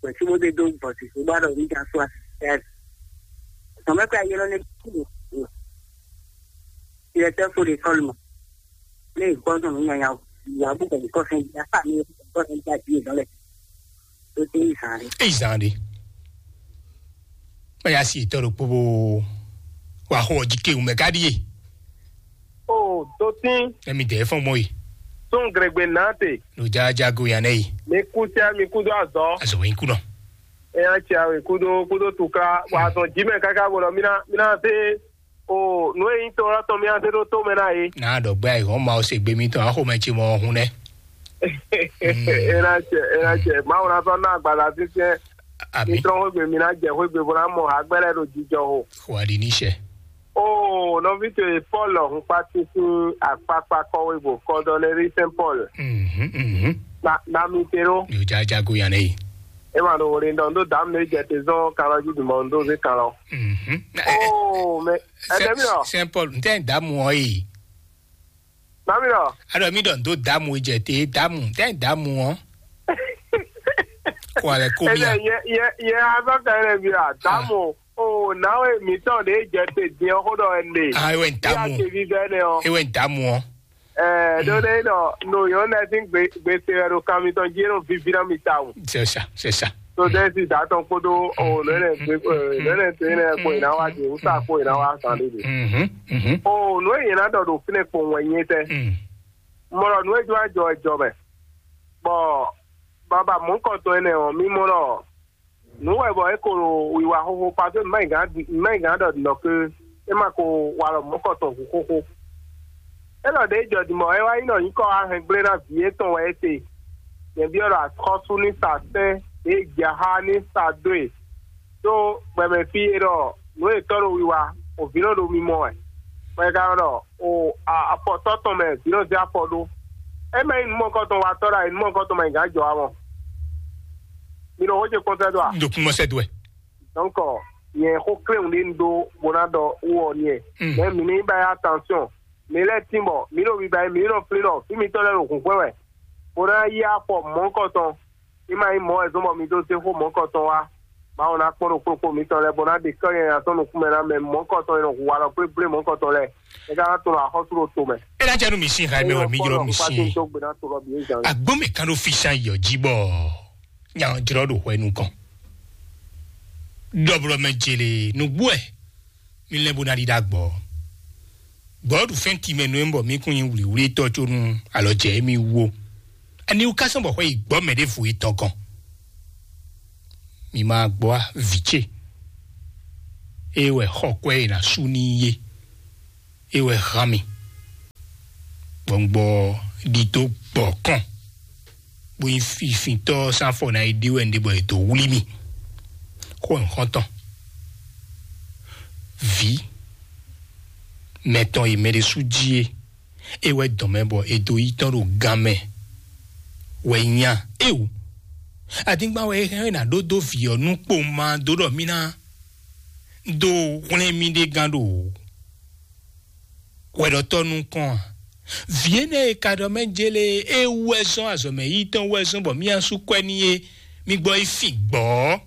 Bɔ si mo de do bɔ si so ba ɖo mi ja so asi. Tɔmɛ kɔ ayé lɔ ne ku. Directeur faut l'école ma. Ne gbɔdɔ mi nya ya. Ìyàwó kò kọ́ fẹ́ yá fà mí kò kọ́ fẹ́ yá bí ìdánlẹ̀. Tó tẹ́ ìsàn rẹ̀. Èyí zan ɖe. Báyà sí ìtọ́ ɖokpó bó wà xó ọjí kéwù mɛ káɖíyé. O dotín. Ẹ̀mí dẹ̀ fọ́n mọ́ yìí. Tún gèrègbè náà tè. Ló já jágo yàn náà yìí. Mi kú sí mi kú dó àzọ́. Àzọ̀ wẹ̀ ń kú náà. Ẹ yà tsi àwọn ìkúdó kúdó tukla wà á tún jí mẹ káká bọ̀ lọ mí ná mí ná dé o nú èyí tó lọ́tọ̀ mí á dé ɖó tó mɛ ná yé. Náà ɖɔ gbé àìhɔn ma ó se gbé mi tán axomɛ ce mɔ ọhún nɛ. Ena cɛ ena cɛ mawu na sɔ ná agbada fífíɛ. Àmì. Mitrɔ xwégbe mi ná jẹ xwégbe bó ná mɔ agbẹ́rẹ́ ɖo jijɔ o. Xɔ adi ní sɛ. O nɔvi to ye Paul hun kpati sín akpakpa kɔwé bò kɔdɔnɛri Saint Paul. Mhm mhm. Na na mi te ɖo. Yóò já jago yan ne yi. E ma ɖo wòle ɖɔ ndo dam ne jɛ te zɔn kalɔ jí dumɔ ndo zé kalɔ. Mhm. Oh, mais Saint Paul, ntɛ damu ɔ yi. Mami lɔ. Aɖɔ mi ɖɔ ndo damu jɛ te damu ntɛ damu ɔ. Kɔ alɛ ko mi a. Yɛ yɛ yɛ azɔ ka yɛrɛ bi a damu o nawe mitɔn de jɛ te diɛ xo dɔ ɛnɛ. Ah, ewe ntamu. Ya te bi bɛ ne o. Ewe ntamu o. Ɛɛ do de dɔ no yɔ nɛ sin gbe gbe se wɛ do kan mitɔn ji no vivi na mi ta o. C'est ça, c'est ça. So de si da tɔn kpodo o nɛ nɛ gbe nɛ nɛ te nɛ ko ina wa di usa ko ina wa san de de. Mhm. Mhm. O no yina dɔ do fine ko wɛ nye tɛ. Mm. Mɔlɔ nu e jɔ ajɔ e jɔ mɛ. Bɔ baba mɔnkɔtɔn enɛ ɔ, mi mɔ ɖɔ nǔ wɛ bɔ é ko ɖo wiwa xóxó, parce que mɛ gǎn mɛ gǎn ɖɔ nɔ ke é ma ko wa ɖɔ mɔnkɔtɔn hu xóxó. É ɖɔ ɖě jɔ dimɔ é wá nyí ɖɔ nyǐkɔ wá hɛn gblé ná vǐ étɔn wɛ é te. Nyɛ byɔ́ ɖɔ axɔ́sú ní sa sɛ́n, ɖě jaxá ní sa dó e. Ɖó gbɛmɛ fí é ɖɔ nǔ e tɔ́ ɖo wiwa, o vǐ nɔ ɖo mimɔ wɛ. Bɔ é ka ɖɔ o afɔtɔ́ tɔn mɛ vǐ nɔ zé afɔ ɖó. É mɛ nyí nǔmɔkɔtɔn wa tɔ́ ɖo ayǐ nǔmɔkɔtɔn mɛ gǎn jɔ amɔ. Mi ɖo xó ce kpɔ́n sɛ́ dó a? Ɖo kún mɔ sɛ́ dó wɛ. Donc nyɛ xó kléwun ɖé un ɖó bó ná ɖɔ wú ɔ n'i wɛ. Mɛ mǐ ní ba yá attention. Mǐ lɛ́ tín bɔ mǐ ɖo biba mǐ nɔ flín ɖɔ fí mitɔn lɛ́ɛ ɖo hǔnxwɛ́ wɛ, bó ná yí afɔ mɔ̌hunkɔtɔn. Ní ma nyí mɔ̌ wɛ zɔ́n bɔ mi dó zé xó mɔ̌hunkɔtɔn wá. Mawu ná kpɔ́n ɖo kplɔ́kpó mitɔn lɛ́ɛ, bó ná ɖe kɔ́ nyanya sɔ́ nukúnmɛ ná mɛ mɔ̌hunkɔtɔn e nɔ hu walɔ gblégblé mɔ̌hunkɔtɔn lɛ́ɛ. É ka ná tunɔ axɔ́sú ɖo tomɛ. É ná jɛ nú mi sín hɛn mɛ wɛ mi jlɔ́ mi sín. Agbɔ́n mɛ kan ɖó físán yɔ jí bɔ nya jlɔ́ ɖo hwɛ nukɔn. Ɖɔblɔmɛ jele nǔgbó ɛ mi lɛ́ bó ná ɖi ɖó agbɔ. Gbɔ̌ ɖu fɛ́n timɛ nú emi bɔ mi kún nyi wlǐwlítɔ́ có nú alɔ jɛ émí wú ó. Aniwú ka sɔ́ bɔ xwɛ yi gbɔ́ mɛ ɖěvo yi tɔn gɔn? Mi ma gbɔ á, vǐ ce. Ée wɛ xɔ kwɛ e ná sú n'i é. É wɛ hán mi. Gbɔngbɔ ɖidó gbɔ kɔn. Bó nyí fifintɔ́ sín afɔ ná yi ɖe wɛ un ɖe bɔ è dǒ wlí mì. Xó nyǐxɔ́ntɔn. Vǐ mɛtɔn e mɛ ɖé sú jí é, é wɛ dɔn mɛ bɔ è dǒ yi tɔn ɖo gan mɛ wɛ nya éwú. Adingban wɛ é hɛn ná ɖó dó vǐ ɔ́ nú kpowun ma dó ɖɔ mì ná dó hwlɛ́n mì ɖe gán ɖo hwɛɖɔtɔ́ nukɔn a? Vǐ énɛ́ e ka ɖɔ mɛ jélé e wú wɛ zɔ́n azɔ̌mɛ yi tɔn wú wɛ zɔ́n bɔ mì asú kwɛ n'i é, mi gbɔ yi fin gbɔ̌.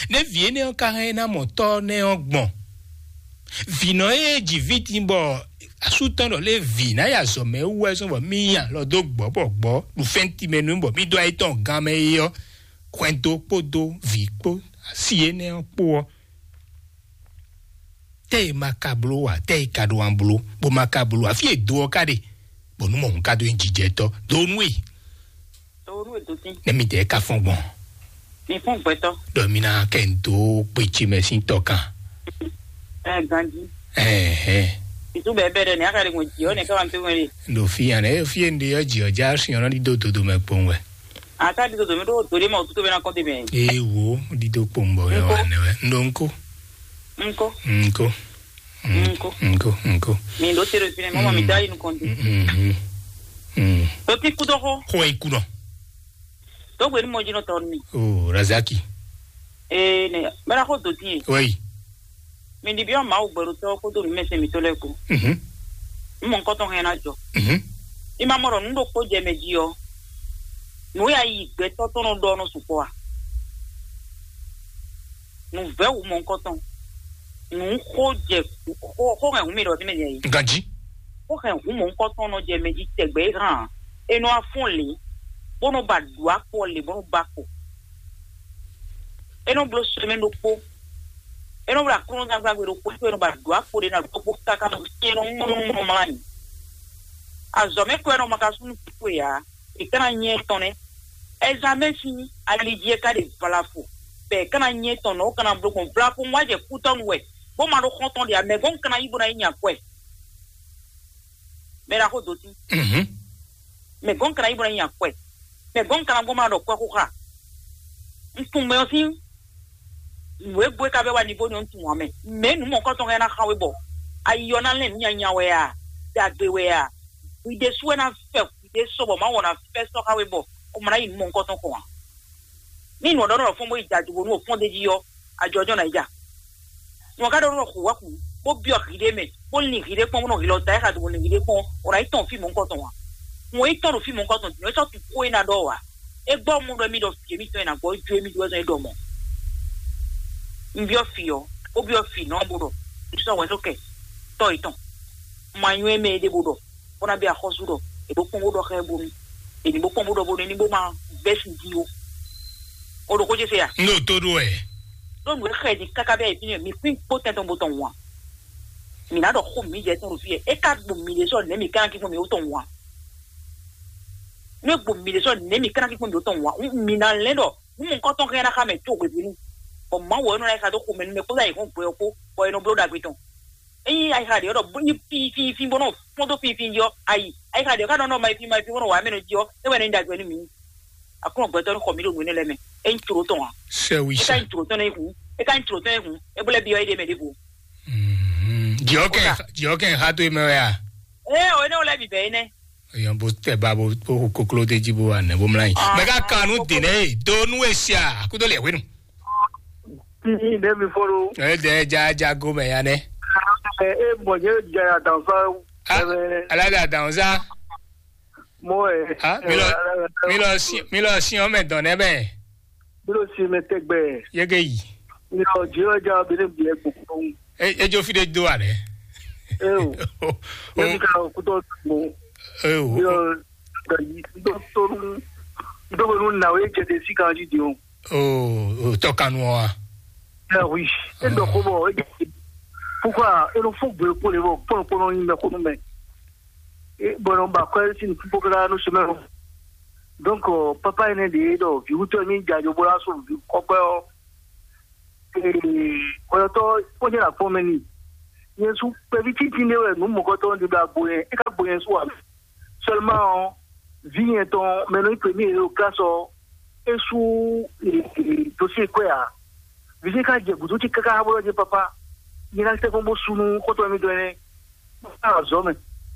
Nɛ̌ vǐ énɛ́ ɔ́ ka hɛn ná mɔ tɔ́ nɛ́ ɔ́ gbɔn? Vǐnɔ e ji vǐ din bɔ asú tɔn ɖɔ lé vǐ ná yi azɔ̌mɛ wú wɛ zɔ́n bɔ mì nyi alɔ dó gbɔ̌ bɔ gbɔ̌ ɖu fɛ́ntin mɛ nú bɔ mì dó ayé tɔn gán mɛ é ɔ́, hwɛndo kpódó vǐ kpó asi énɛ́ ɔ́ kpó ɔ́, tɛ́ e ma ka bló ǎ, tɛ́ e ka ɖo an bló, bó ma ka bló ǎ, fí e do ɔ́ ka ɖe, bɔ nú mɔ̌hun ka dó nyi jijɛtɔ́ dó nú e. Dó nú e dó tín. Nɛ mi dɛɛ ka fɔn gbɔn. Mi fún gbɛtɔ. Ɖɔ mi ná kɛ n dó kpé ce mɛ sín tɔ kan. Ɛ ganji. Ɛhɛn. Ìtú bɛɛ bɛɛ dɛ ní a ka ɖe ŋun jì ɔ ní ká wà ní tó wɛn ɖe. Ɖo fi yan ɛ fi e n ɖe ɔ jì ɔ já sìn ɔ nɔ ɖi dó dodo mɛ kpɔn wɛ. Ata ɖi dodo mi ɖo do ɖe ma o tuto bɛ na kɔn de mɛ. Ee wo ɖi dó kpɔn bɔ yɛ wà nɛ wɛ n ɖo ŋko. Ŋko. Ŋko. Ŋko. Ŋko. Ŋko. Mi ɖo te ɖo fi nɛ mɔ mi da yi nukɔn de. Ɖo ti kudɔ xɔ. Xɔ yi kudɔ. Dogbe ni mɔ dzi nɔ tɔ mi. O Razaki. Ee ne mɛ na xɔ do ti ye. Wɛyi. Mi ɖi biɔ Mawu gbɛɖotɔ kpódó nǔmɛsɛn mǐtɔn lɛ́ɛ kpó. Mhm. Nú mɔ ŋkɔtɔn hɛn ná jɔ. Mhm. I ma mɔ ɖɔ nǔ ɖokpó jɛ mɛ jí ɔ́, nǔ ya yi gbɛtɔ́ tɔn nɔ ɖɔ nɔ sukpɔ a? Nǔ vɛ́ wǔ mɔ ŋkɔtɔn. Nǔ xó jɛ xó xó hɛn hǔn mi ɖɔ fínɛ́ jɛ yi. Ganji. Xó hɛn hǔn mɔ ŋkɔtɔn nɔ jɛ mɛ jí tɛgbɛ é hàn. E nɔ wá fɔ́n lě, bó nɔ ba ɖu akpɔ lě, bó nɔ ba kpo. E nɔ bló sɛmɛ ɖokpó. E nɔ bló aklúnɔzán gbàgbé ɖokpó, é nɔ ba ɖu akpó ɖé ná ɖokpó káká nɔ sí e nɔ mlɔ́ mlɔ́ mlá nyi. Azɔ̌ mɛ kɔ e nɔ ma ka súnú kúkú e ǎ, è ká ná nyɛ tɔn nɛ́. Ɛzamɛ sín ali jí é ká ɖe vlafo, bɔ è ká ná nyɛ tɔn nɔ, ó ká ná bló gbɔn vlafo wá jɛ kútɔ́nu wɛ, bó ma ɖó xɔ́ntɔn ɖe ǎ, mɛ gɔ́n un ka ná yí bó ná yi nya kwɛ. Mɛ ɖaxó dó sí. Mhm. Mɛ gɔ́n kana yí bɔ ná nya kwɛ. Mɛ gɔ́n kana gbɔn ma ɖɔ kwɛ xó xa. Un tunwun mɛ ɔ́ sín nǔ e gbo e ka vɛ wá ní bó ní ɔ́, un tunwun ǎ mɛ. Mɛ nǔ mɔ̌kɔtɔn hɛn ná xa we bɔ ayi ɔ́ ná lɛn nǔ nyanya wɛ a, ɖagbe wɛ a, hwi ɖésú wɛ ná fɛ hwi ɖé sɔ bɔ má wɔ ná fɛ sɔ xa we bɔ o ma ná yi nǔ mɔ̌kɔtɔn kɔn ǎ. Ní nǔ ɔ́ ɖɔ nɔ fɔ́n bó yi da do bónú o fɔ́n d'é jí ɔ́, ajɔjɔ ná yi ja. Nú ɔ́ ká ɖɔ nɔ xu wá xu, bó byɔ́ hǐɖé mɛ, bó lin hǐɖé kpɔ́n, bó nɔ hǐlɔ da é xa do bó lin hǐɖé kpɔ́n, o ná yi tɔn fí mɔ̌hunkɔtɔn ǎ. Hǔn e yi tɔn ɖo fí mɔ̌hunkɔtɔn din ɔ́, é sɔ́ tu xó e ná ɖɔ ǎ. É gbɔ mɔ ɖɔ émí ɖɔ fí émítɔn e ná gbɔ jó émí ɖó wɛ zɔn é ɖɔ mɔ̌. Un byɔ́ fǐ ɔ́, bó byɔ́ fǐ nɔ bó ɖɔ, un sɔ́ hwɛ̌ sɔ́ kɛ tɔ́ yětɔn. Ma nywɛ́ mɛ é ɖě bó ɖɔ, bó ná bɛ axɔ́sú ɖɔ, è bó kpɔ́n bó ɖɔ xá ɛ bónú, è ní bó kpɔ́n bó ɖɔ bónú é ní bó má vɛ́ sin jí ó. O ɖo xó ce se a? N ɖo tó ɖó wɛ. Ɖó nǔ e xɛ din káká bɛ́ yě fínɛ́, mi kpín kpó tɛn tɔn bó tɔn wǎn. Mǐ ná ɖɔ xó mǐ jɛ tɔn ɖo fí yɛ. É ka gbo mǐ ɖésú ɔ́, nɛ̌ mǐ ka ná kí gbɔn mǐ ó tɔn wǎn? Nú é gbo mǐ ɖésú ɔ́, nɛ̌ mǐ ka ná kí gbɔn mǐ ó tɔn wǎn? Mǐ ná lɛ́n ɖɔ nú mɔ̌hunkɔtɔn hɛn ná xa mɛ có hwebǐnu, bɔ Mawu wɛ nɔ ná yi xa dó xomɛ nú mɛ kpódó ayǐhɔ́ngbe ɔ́ kpó, bɔ è nɔ bló ɖagbe tɔn. Ényí ayixa ɖě ɔ́ ɖɔ bó nyí fínfín bó nɔ kpɔ́n dó fínfín jí ɔ́, ayi. Ayixa ɖě ɔ́ ka nɔ nɔ ma yi fí ma yi fí bó nɔ wa mɛ nɔ jí ɔ́, é wɛ nɔ nyí ɖagbe nú mǐ. Aklúnɔ gbɛtɔ́ ní xɔ mǐ ɖo nǔ énɛ́ lɛ́ɛ mɛ. É nyí tló tɔn ǎ. Sɛwi É ka sa. Nyí tló tɔn ní hun. É ka nyí tló tɔn ní hun. É bó lɛ́ byɔ́ éɖée mɛ ɖěvo. Mhm. Jɔkɛ Kódà. Jɔkɛ ha to mɛ wɛ a? Ée o énɛ́ wo lɛ́ bǐ bɛ́ énɛ́. Èèyàn bó tẹ̀ ba bó bó hu kokló dé jí bó wà nɛ bó mlá yín. Ah, Mɛ ká kan nú dènè é do nú èsì à kúndó lè wénu. Ní ìdẹ́mi fọ́nrú. Ẹ dẹ ja ja go mɛ ya nɛ. Ẹ ẹ bọ̀ jẹ́ jẹ́ àtàǹfà. Ah, alága dàn sá. Mọ́ ẹ. Ah, mi lọ mi lọ sí mi lọ sí ọmọ ẹ̀dán nẹ bẹ́ẹ̀. Bí ló ṣe mẹ tẹ́gbẹ́? Yege yi. Mi lọ jí ọjà obìnrin bí ẹ gbogbo. E ejo fi de do a rẹ. Ẹ o. Yẹ mi ka òkútọ́ gbogbo. E o. Yọ gbẹ̀yì tó tó ń tó ń nà ó yẹ jẹ de sí kan jí di o. O o tọ́ kanu wa. Ẹ wí. Ẹ dọ̀ kó bọ̀ ẹ jẹ. Púpọ̀ ẹ ló fún gbèrè kó lè bọ̀ pọ̀npọ̀n yín bẹ kó nú mẹ. Bɔn ba kɔɛ sin fífó káká nú sumɛ o. Donc papa énɛ́ ɖě ɖɔ vǐwútɔ́ émí jɛ ajo bó ná sú vǐ kɔ́gbɛ́ ɔ́. Kɔyɔtɔ́ kpɔ́jɛ na kpɔ́n mɛ n'i. Nyɛ sú kpɛví títí ɖé wɛ nǔ mɔ̌kɔtɔ́ ɖé ɖo agbo nyɛ é ká gbo nyɛ sú ǎ. Seulement ɔ́, vǐ nyɛ tɔn mɛ nɔ nyí premier ɖo classe ɔ́, é sú dossier kwɛ ǎ. Vǐ ce ka jɛ gǔdo ce káká bó ɖɔ jɛ papa, nyɛ ná tɛ́ kpɔ́n bó sú nú xɔ́ntɔn émítɔn énɛ́. Azɔ̌ mɛ,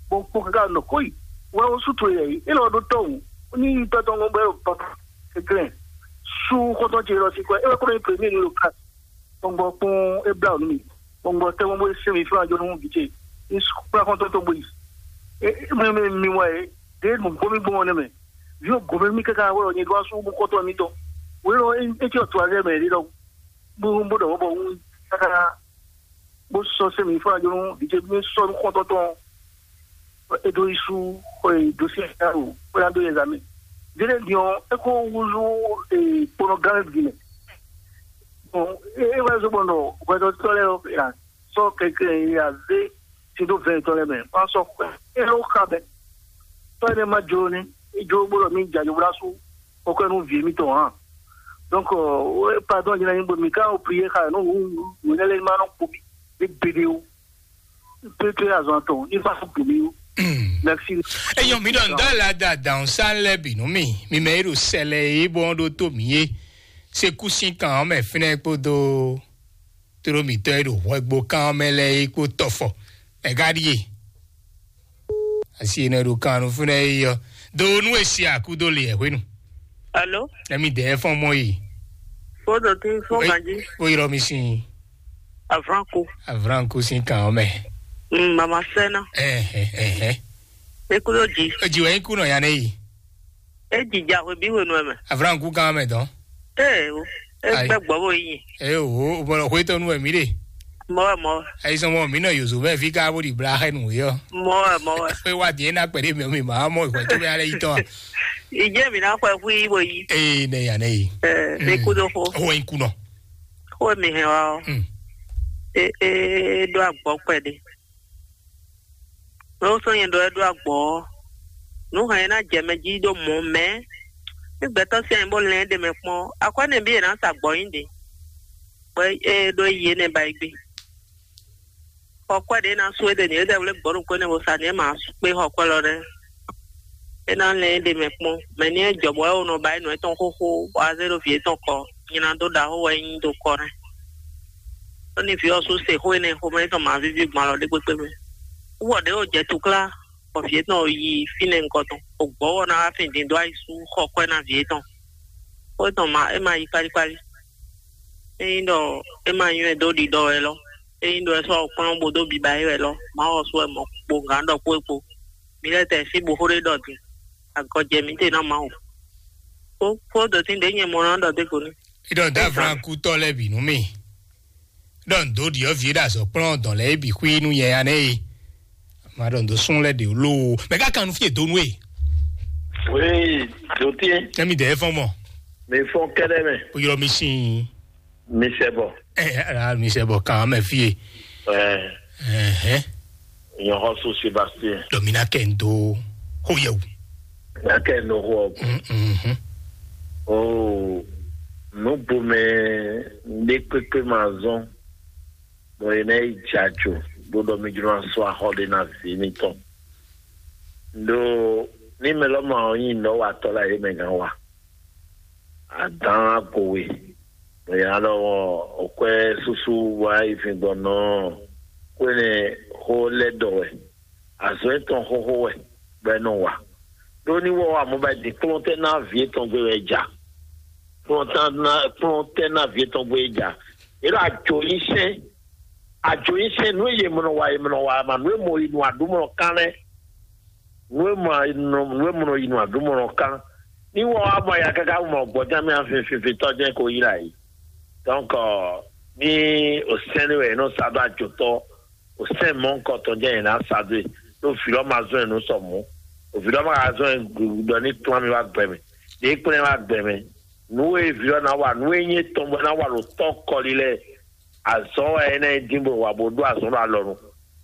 bɔ kpó káká nɔ kó yi. Wɛ wo sú towe yɛ yi. Élɔ́ ɖó tɔ́hún. Ní yi tɔ́ tɔn gbɔn bɔ é ɖo papa kɛnklɛ́n. Sú xɔ́ntɔn ce lɔ sí kwɛ. É wɛ kó nɔ nyi premier nú lo ka. Gbɔngbɔ kpɔ́n é blá nú mi. Gbɔngbɔ tɛ́ gbɔn bó é sɛn mi fúnra jɔ nú vǐ ce. Ní kplá xɔ́ntɔn tɔn bó yi. Mi mi mi wɛ é. Ɖě nǔgbó mi gbɔn ɔ́ nɛ́ mɛ. Vǐ ɔ́ gǒmɛ mì káká wɛ ɔ́, nyɛ ɖó asú bó xɔ́ntɔn mitɔn. Wě lɔ é é cyɔ tu azɛ mɛ ɖé ɖɔhun. Bó bó ɖɔ mɔ̌ bɔ un káká bó sɔ́ sɛ́ mi fún ajɔ nú vǐ ce bí sɔ́ nú xɔ́ntɔn tɔn. É dó yi sú xɔ e dó sí ɛ o, bó ná dó yɛ zǎmɛ. Délé din ɔ́, é kó wúzú kponɔ gán bǐ mɛ. Bon, é é wá zó gbɔn ɖɔ hwɛtɔ́tɔ́ lɛ́ɛ ɔ́, è nǎ sɔ́ kɛnklɛ́n e a zé sin dó vɛ̌ɛn tɔn lɛ́ɛ mɛ, bó ná sɔ́ xwɛ é ló xa bɛ́. Tɔ́ énɛ́ ma jló ní, é jló bó ɖɔ mì jɛ ajo bó ná sú kɔ́kɔ́ nú vǐ émítɔn ǎ. Donc, euh, pardon, jɛnɛ nyigbo mi ka o prier xa no wu wu ne le ma no kpo bi de bede o. Pe pe azɔn ton, ni fa bu mi o. Merci. Eyɔn mi ɖɔ ŋdɔ la da dan sa lɛ bi nu mi, mi mɛ ero sɛlɛ e bɔ ɖo to mi ye. Se kusi kan mɛ finɛ kpodo toro mitɔ e ɖo hwɛgbo kan mɛ lɛ e kpo tɔfɔ. Mɛ ga ɖie. Asi ene ɖo kan nu finɛ yi yɔ. Do nu esi akudo le hwenu. Alo? Emi de fɔn mɔ yi. Fodo ti fo ganji. O yɔrɔ mi sin. Avranku. Avranku sin kan mɛ. Mm, mama sena. Eh eh eh eh. Ekudo ji. Ji wa iku no ya ne yi. E ji ja hwe bi hwe no mɛ. Avranku kan mɛ dɔn. Eh o. E Ayi. Gbɛ gbɔ bo yi. Eh o, o bɔ hwe to nu mi de. Mɔ wɛ, mɔ wɛ. Ayi sɔn mɔ mi nɔ yozo mɛ fi ka bo di bla xɛ nu yɔ. Mɔ wɛ, mɔ wɛ. Pe wa diɛ na kpɛ de mɛ mi ma mɔ ìwé tó bɛ alẹ́ yìí tán. Ìjẹ́ mi náà pẹ́ fún yín wòyí. Ee ne ya ne yi. Ẹ, mi kú dó fó. Owó yín kú nọ. Kó mi hɛn wa ọ́. Hmm. E e ɖó àgbọ̀ pẹ́ de. Ló sɔ́ nyɛ ɖɔ é ɖó agbɔ̌ ɔ́, nǔ hɛn e ná jɛ mɛ jí ɖó mɔ̌ mɛ. Ní gbɛtɔ́ sín anyǐ bó lɛ́n ɖe mɛ kpɔ́n, akwɛ́ nɛbí e ná sa gbɔ̌ nyi ɖe, bɔ é ɖó yi énɛ́ ba yi gbé. Xɔ kwɛ́ ɖě ná sú é ɖe nǔ é ɖɛwlé gbɔ̌ ɖokpó énɛ́ bó sa nǔ é ma kpé xɔ kwɛ́ lɔ nɛ́. É ná lɛ́n ɖe mɛ kpɔ́n, mɛ ní é jɔ bɔ é wǒ nɔ ba é nǔ étɔn xóxó, bɔ a zé ɖo vǐ étɔn kɔ, nyina dó ɖaxó wɛ é nyí dó kɔ nɛ́. Ɖó ní vǐ ɔ́ sú se xó énɛ́ xomɛ tɔn ma víví gbɔn alɔ ɖé kpékpé mɛ. Wú ɔ ɖě wǒ jɛ túklá, bɔ vǐ étɔn yi fínɛ́ nukɔn tɔn, bɔ gbɔ̌ ɔ́ ná wá fin din dó ayi sú xɔ kwɛ́ ná vǐ étɔn. Xó étɔn ma é ma yi kpálíkpálí. Ényí ɖɔ é ma nywɛ́ dó ɖiɖɔ wɛ lɔ, ényí ɖɔ é sɔ́ kplɔ́n bó dó biba é wɛ lɔ, Mawu ɔ́ sú wɛ mɔ̌ kpo gǎn ɖɔ kpó é kpo. Mi lɛ́ tɛ sín bo xó ɖé ɖɔ din, agɔjɛ mǐtɛn ná Mawu. Kó kó dɔ̌tín ɖě nyɛ mɔ ná ɖɔ dé ko ní. Idɔn dá Abraham kútɔ lɛ́ɛ bǐ nú mì. Ɖɔ ndo ɖiɔ vǐ ɖo azɔ̌ kplɔ́n dɔn lɛ́ɛ bǐ xwí nú nyɛ ya nɛ́ e. Ma ɖɔ ndo sún lɛ́ɛ ɖě lóo. Mɛ ká kan nú fí e donu e. Oui, dɔtín. Tɛ́ mi dɛ́ fɔ́n mɔ. Mi fɔn kɛ́ɖɛ́ mɛ. O ylɔ mi sín. Mi sɛ bɔ. Ɛ ɛ mi sɛ bɔ kan mɛ fí e. Ɛ Ɛhɛn. Nyɔxɔso Sébastien. Dɔ mi ná kɛ n dó xó yɛ wò. Ná kɛ n dó xó ɔ. Mhm. Oo, nǔgbomɛ ɖé kpékpé ma zɔn, bɔ è nɔ yi dza tso, bó ɖɔ mí jló ná sɔ́ axɔ ɖé ná vǐ mitɔn. Ɖó ní mɛ lɔ ma ɔ́ nyí nɔ́watɔ́ lɛ́ɛ é mɛ gán wa. Adán agowe, bɔ è nǎ ɖɔ ɔ́, òkwɛ́ súsú wá yi fin gbɔn nɔ ɔ́, xó énɛ́ xó lɛ́ ɖɔ wɛ. Azɔ̌ yětɔn xóxó wɛ, bɔ é nɔ wa. Ɖó ní wɔ wá mɔ ba din kplɔ́n tɛ́ ná vǐ yětɔn gbé wɛ ja. Kplɔ́n tɛ́ ná kplɔ́n tɛ́ ná vǐ yětɔn gbé ja. Yě ɖo ajo nyi sɛn, ajo nyi sɛn nǔ e yě mɔ nɔ wa, yě mɔ nɔ wa ma nǔ e mɔ yi nɔ aɖǔ mɔ nɔ kán lɛ́ɛ. Nǔ e mɔ nɔ nǔ e mɔ nɔ yi nɔ aɖǔ mɔ nɔ kán. Ní wɔ wá mɔ ya káká mɔ gbɔjá mì afin finfin tɔ́ jɛ́n ko yi la yi. Donc, ní o sɛn ní wɛ è nɔ sa ɖó ajotɔ, o sɛn mɔ̌ kɔtɔn jɛ́n è nǎ sa dó e, ɖó vǐ lɔ ma zɔn ɛ nú sɔ mɔ̌. O vǐ lɔ ma ka zɔn ɛ ɖɔ ní kplɔ́n mi wá gbɛ mɛ. Ɖě kplɔ́n ɛ wá gbɛ mɛ. Nǔ e vǐ lɔ ná wa, nǔ e nyí étɔn bɔ é ná wa ɖo tɔ́ kɔli lɛ́ɛ, azɔ̌ wɛ é ná nyí dín bó wa bó ɖó azɔ̌ ɖo alɔ nu.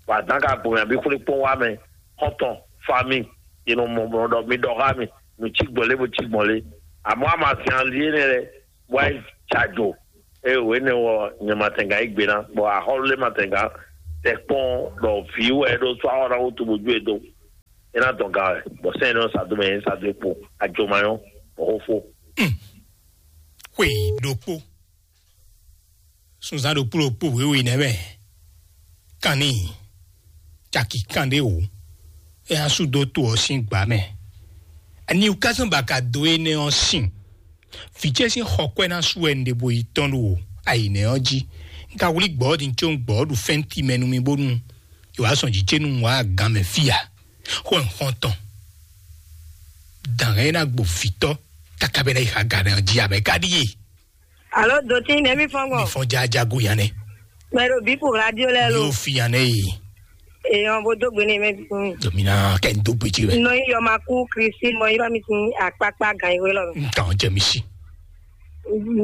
Bɔ adǎn ka gbɔn mɛ abǐ xwlé kpɔ́n wá mɛ, xɔ́ntɔn, fami, è nɔ mɔ mɔ ɖɔ mi ɖɔ xá mi, nǔ cí gbɔn lé bó cí gbɔn lé. Amɔ̌ a ma zɛn ali énɛ́ lɛ́ɛ, bó wá yi jɛ ajo. Ée wǒ énɛ́ ɔ́, nyɛ ma tɛn gǎn yí gbe ná, bɔ axɔ́lú lɛ́ɛ ma tɛn gǎn tɛ kpɔ́n ɖɔ vǐ wɛ é ɖó sú axɔ́ ná wútu bó jó e dó. É ná dɔn ga wɛ, bɔ sɛ́n énɛ́ ɔ́ sa dó mɛ, é sa dó e kpo, ajo ma nyɔ́, bɔ xó fó. Xwe ɖokpó. Sunzán ɖokpó ɖokpó wěwe nɛ́ mɛ. Kanní caki kanɖé wǒ. É ná sú dó to ɔ́ sín gbǎ mɛ. Ani wú ká zɔ́n bɔ a ka dó énɛ́ ɔ́ sin? Vǐ ce sín xɔkwɛ́ ná sú wɛ un ɖe bo yi tɔ́n ɖo ayǐ nɛ́ ɔ́ jí. Un ka wlí gbɔ̌ ɔ́ din có un gbɔ̌ ɔ́ ɖu fɛ́nti mɛ nú mì bónú è wǎ sɔn jǐ ce nú un wǎ agán mɛ fí ǎ. Xó un xɔ́ntɔn. Dǎn e ná gbo vǐtɔ́ káká bɛ́ ná yi xa gǎn ɔ́ jí ǎ mɛ ká ɖíe. Alo, dotí nɛ́ mí fɔ́n gbɔn? Mi fɔ́n jájá go yan nɛ. Mɛ ɖo bí pour radio lɛ lo. Yóò fi yan nɛ yi. Èèyàn bó dógbe ní mɛ bí fún mi. Domina kẹ́ ń dógbe jí rẹ̀. Nɔ yí yɔ ma kú Kristi mɔ yí bá mi sin akpákpá gan ìwé lɔ. Nǹkan jẹ mi sí.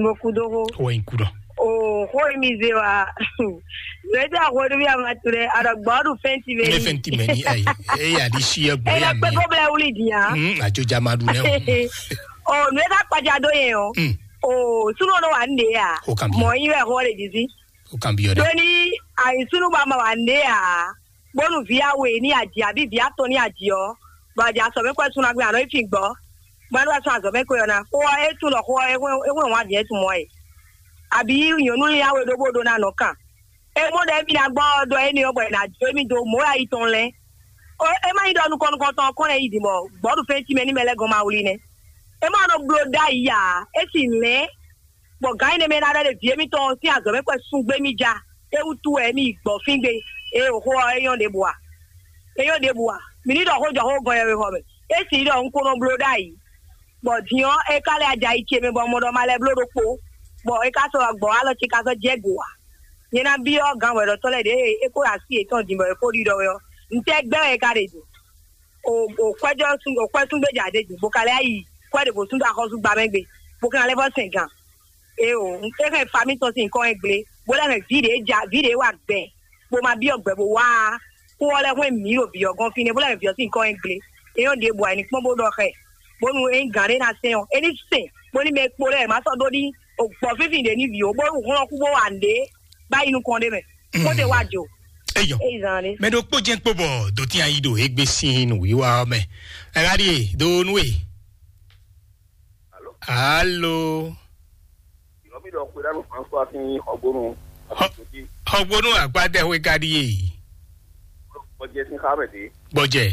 Mo kú dó hó. Wọ́n ń kú dán. O hó mi zé wa. Zé dé àhó ní bí a ma tu dɛ. Àdàgbà ọdún fẹ́ǹtì bẹ́ẹ̀ Ní ni. Fẹ́ǹtì mẹ́ni ayi. Ẹ yà di sí ẹ gbọ́ Ẹ yà lọ pé mí. Kó bẹ́ẹ̀ wúlì dìá. Hmm, àjọjà máa dùn náà. O nù ẹ ká kpajà dó yẹn o. Hmm. O súnú ọdún wà ń dè yà. Ó kàn bí Mọ̀ ọ. Yín bẹ́ẹ̀ hó lè dì sí. Ó kàn bí ọ dẹ. Tó ní àìsúnú bá ma wà ń dè yà. Bónú vǐ àwè ní àjì àbí vǐ àtọ̀ ní àjì ọ́. Bɔ àjì àsọ̀ mẹ́kọ́ ẹ̀ tún náà gbé àná ìfì gbọ́. Gbadó àtún àzọ̀ mẹ́kọ́ ẹ̀ náà. Kó ẹ tún lọ kó ẹ wọ́n wọ́n àjì ẹ̀ tún mọ́ ẹ̀. Àbí nyɔ̀nú ní àwè ɖó bó ɖó náà nọ kàn. E mɔ ɖe mi na gbɔ dɔ e ni ɔbɔ e na jo mi do mɔ ya yi tɔn lɛ. O e ma yi dɔ nukɔ nukɔ tɔn kɔn lɛ yi di mɔ gbɔdu fɛn ti mɛ ni mɛ lɛ gɔn ma wuli nɛ. E ma nɔ blo da yi ya, e si lɛ. Bɔ gan yi ne mɛ na ɖe ɖe vie mi tɔn si azɔ mɛ kɔ sun gbe mi ja. E wutu wɛ mi gbɔ fin gbe. E o xo e yɔn de bua. E yɔn de bua. Mi ni dɔ xo jɔ xo gɔn yɛ xɔ mɛ. E si dɔ un ko nɔ blo da yi. Bɔ diɔ e ka lɛ aja yi ce mɛ bɔ mɔ dɔ ma lɛ blo ɖokpo. Bɔ e ka sɔ gbɔ alɔ ce ka sɔ jɛ go wa. Nyɛ ná byɔ́ gǎn hwɛɖɔtɔ́ lɛ́ɛ ɖě e é kó ɖo así yětɔn din bɔ é kó ɖiɖɔ wɛ ɔ́, ntɛ́ gbɛ́ wɛ é ka ɖe din? O o kwɛ́jɔ́ sún o kwɛ́ sún gbéjà ɖé din, bó ka lɛ́ yi kwɛ́ ɖěvo sún dó axɔ́súgbamɛ gbe, bó ka ná lɛ́ vɔ́ sɛn gǎn. Éeǒ, é hɛn famí tɔn sín nyǐkɔ wɛ gblé, bó lɛ́ hɛn vǐ ɖě ja vǐ ɖě wa gbɛ, bó ma byɔ́ gbɛ bó wá á. Xó ɔ́ lɛ́ hwɛ́n mǐ ɖo vǐ ɔ́ gɔ́n fínɛ́, bó lɛ́ hɛn vǐ ɔ́ sín nyǐkɔ wɛ gblé. É nyɔ́ ɖěbǔ ǎ, é ní kpɔ́n bó ɖɔ xɛ, bónú é nyí gǎn ɖé ná sɛn ɔ́, é ní sɛn, bónú mɛ kpo lɛ́ɛ má sɔ́ ɖó ní o gbɔ fínfín ɖě ní vǐ ó, bónú hɔn ɔ́ kú bó wa nǔɖé bá yi nukɔn ɖé mɛ. Xó ɖé wá jǒ. Eyɔ. É yi zan ɖé. Mɛ ɖokpó jɛ́n kpo bɔ dotí ayi ɖo égbé sín nǔwiwa ɔ́ mɛ. Ɛɣá ɖíe do nú e. Alo. Yɔmi ɖɔ xwe ɖa nú François sín xɔgbónu. Xɔgbónu àgbádẹ́wé ká ɖíe. Gbɔjɛ sín xá mɛ dé. Gbɔjɛ.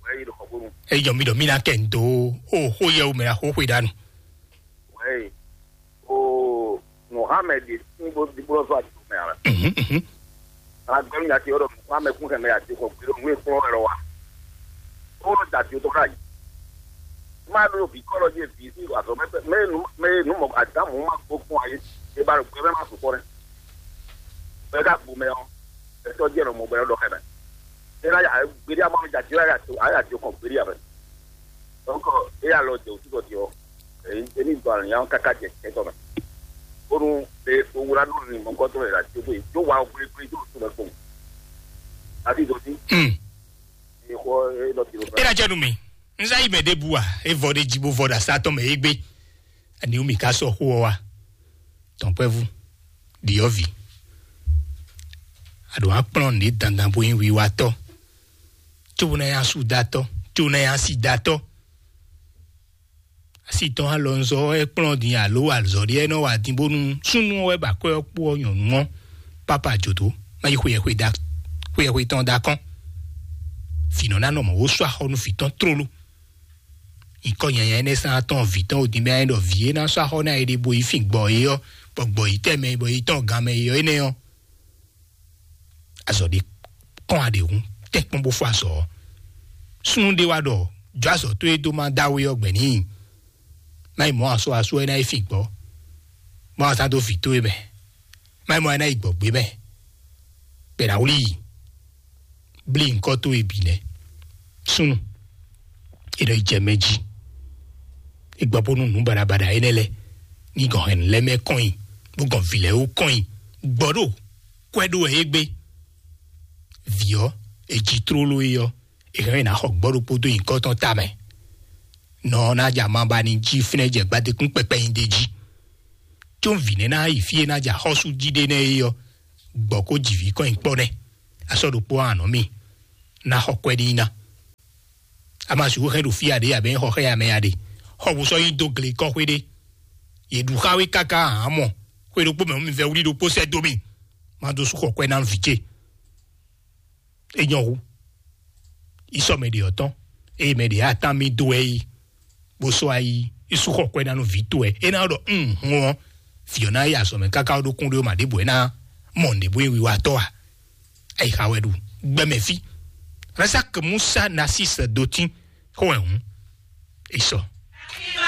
Wɛ yi ɖo xɔgbónu. Eyɔ mi ɖɔ mi ná kɛ ndo o xó yɛ o mɛ ná xó xwe ɖa nu. Wɛ yi. O Mohammed ní bó ní bó zɔ àti mɛ ara. Mhm, mhm. Ala gbɛm nya ti ɔdɔ Mohammed kún kɛ mɛ ya ti kɔ gbé ɖo nú ekplɔ wɛ lɔ wa. Ó lɔ da ti tó ká yi. Má ɖo vi kɔlɔ dzi vi sí azɔ mɛ mɛ nu mɛ nu mɔ adamu ma gbó kún ayi. E ba ɖo gbé mɛ ma sukɔ nɛ. Bɛ ka gbó mɛ ɔ. Etɔ dzi ɛnɔ mɔ bɛ lɔ dɔ xɛ mɛ. E na ya gbé ɖi ama mi ja ti ya ya to aya ti kɔ gbé ɖi abɛ. Donc, e alɔ jɛ òtútɔ din ɔ, e ní dɔ alìyá káká jɛ kɛtɔ mɛ. Bónú e owó la ɖo ní mɔkɔtɔ yɛ la tó tó tó wa gblégbé tó tó lɛ kpɔn. Àti ìdọ̀tí. Hmm. Ìkọ e lọ tìrò. E na jẹ nu mi. N sa yi mɛ ɖe bu a, e vɔ ɖe dzi bo vɔ ɖe asa tɔn mɛ e gbé. Ani mi ka sɔ xó ɔ wa. Tɔnkpɛvu, ɖiɔvi. Aɖo akplɔn ɖe dandan bo yin wiwatɔ. Tso na ya su datɔ, tso na ya si datɔ. Asi tɔn alɔnzɔ ɛ kplɔn din alo azɔli ɛ nɔ wa din bónú súnnu ɔ́ wɛ ba kwɛ ɔ́ kpó ɔ́ nyɔ̌nu ɔ́, papa jǒdó má yi xweyɛxwe da xweyɛxwe tɔn da kɔn. Vǐ nɔ ná nɔ mɔ̌ wó sú axɔ́ nú vǐ tɔn tlóló. Nyǐkɔ nyanya énɛ́ sán tɔn vǐ tɔn odin mɛ ayé ɖɔ vǐ e ná sú axɔ́ ná é ɖé bo yi fin gbɔ é ɔ́, bɔ gbɔ yi tɛ́ mɛ bɔ yi tɔn gan mɛ é ɔ́ énɛ́ ɔ́, azɔ ɖé kɔn aɖe hun tɛ́nkpɔ́n bó fɔ azɔ ɔ́. Súnnu ɖé wá ɖɔ jɔ azɔ tó e dó má dá we ɔ́ gbɛ n'i. Má yi mɔ asɔ asú ɛ ná yi fin gbɔ. Má wá sá dó vǐ tó e mɛ. Má yi mɔ ɛ ná yi gbɔgbé mɛ. Bɛ ná wlí yi. Blí ŋkɔ tó e bǐ nɛ́. Súnnu. E nɔ yi jɛ mɛ jí. E gbɔ bónú nǔ baɖabaɖa énɛ́ lɛ́ɛ ní gɔn hɛn lɛ́ mɛ kɔn nyi, bó gɔn vǐ lɛ́ɛ wú kɔn nyi. Gbɔ ɖo kwɛ ɖó wɛ é gbé. Vǐ ɔ́, è ji tlóló é ɔ́, è hɛn ná xɔ gbɔ ɖokpó dó nyǐkɔ tɔn tamɛ. Nɔ ɔ́ ná ja ma ba ní jí fínɛ́ jɛ gbadékún kpɛkpɛ nyi d'é jí. Có vǐ nɛ́ ná yi fí e ná ja xɔ́sú jí ɖé nɛ́ é ɔ́, gbɔ kó jǐ vǐ kɔn nyi kpɔ́ nɛ́. Asɔ ɖokpó anɔ mì ná xɔ kwɛ n'i ná. A ma sixú hɛn ɖo fí aɖě abɛ xɔ xɛ amɛ aɖe. Xɔ bó sɔ́ yi dó gle kɔ́xwé ɖé. Yě ɖu xá wé káká hǎn mɔ. Xwé ɖokpó mɛ mi vɛ wlí ɖokpó sɛ́ dó mì. Má dó sú xɔ kwɛ ná vǐ ce. É nyɔ́ hú. Yi sɔ mɛ ɖě ɔ́ tɔn. Eye mɛ ɖě atán mì dó wɛ yi. Bó sɔ́ ayi. Yi sú xɔ kwɛ ná nú vǐ towe. É ná ɖɔ un hun ɔ́. Vǐ ɔ́ ná yi azɔ̌ mɛ káká ɖó kún ɖé ma ɖěbǔ é ná mɔ nǔɖé bó yi wiwa tɔ́ a. Ayi xa wɛ ɖu. Gbɛmɛ fí. Razak Musa Nasis Dotin. Xó wɛ hǔn. Yi sɔ.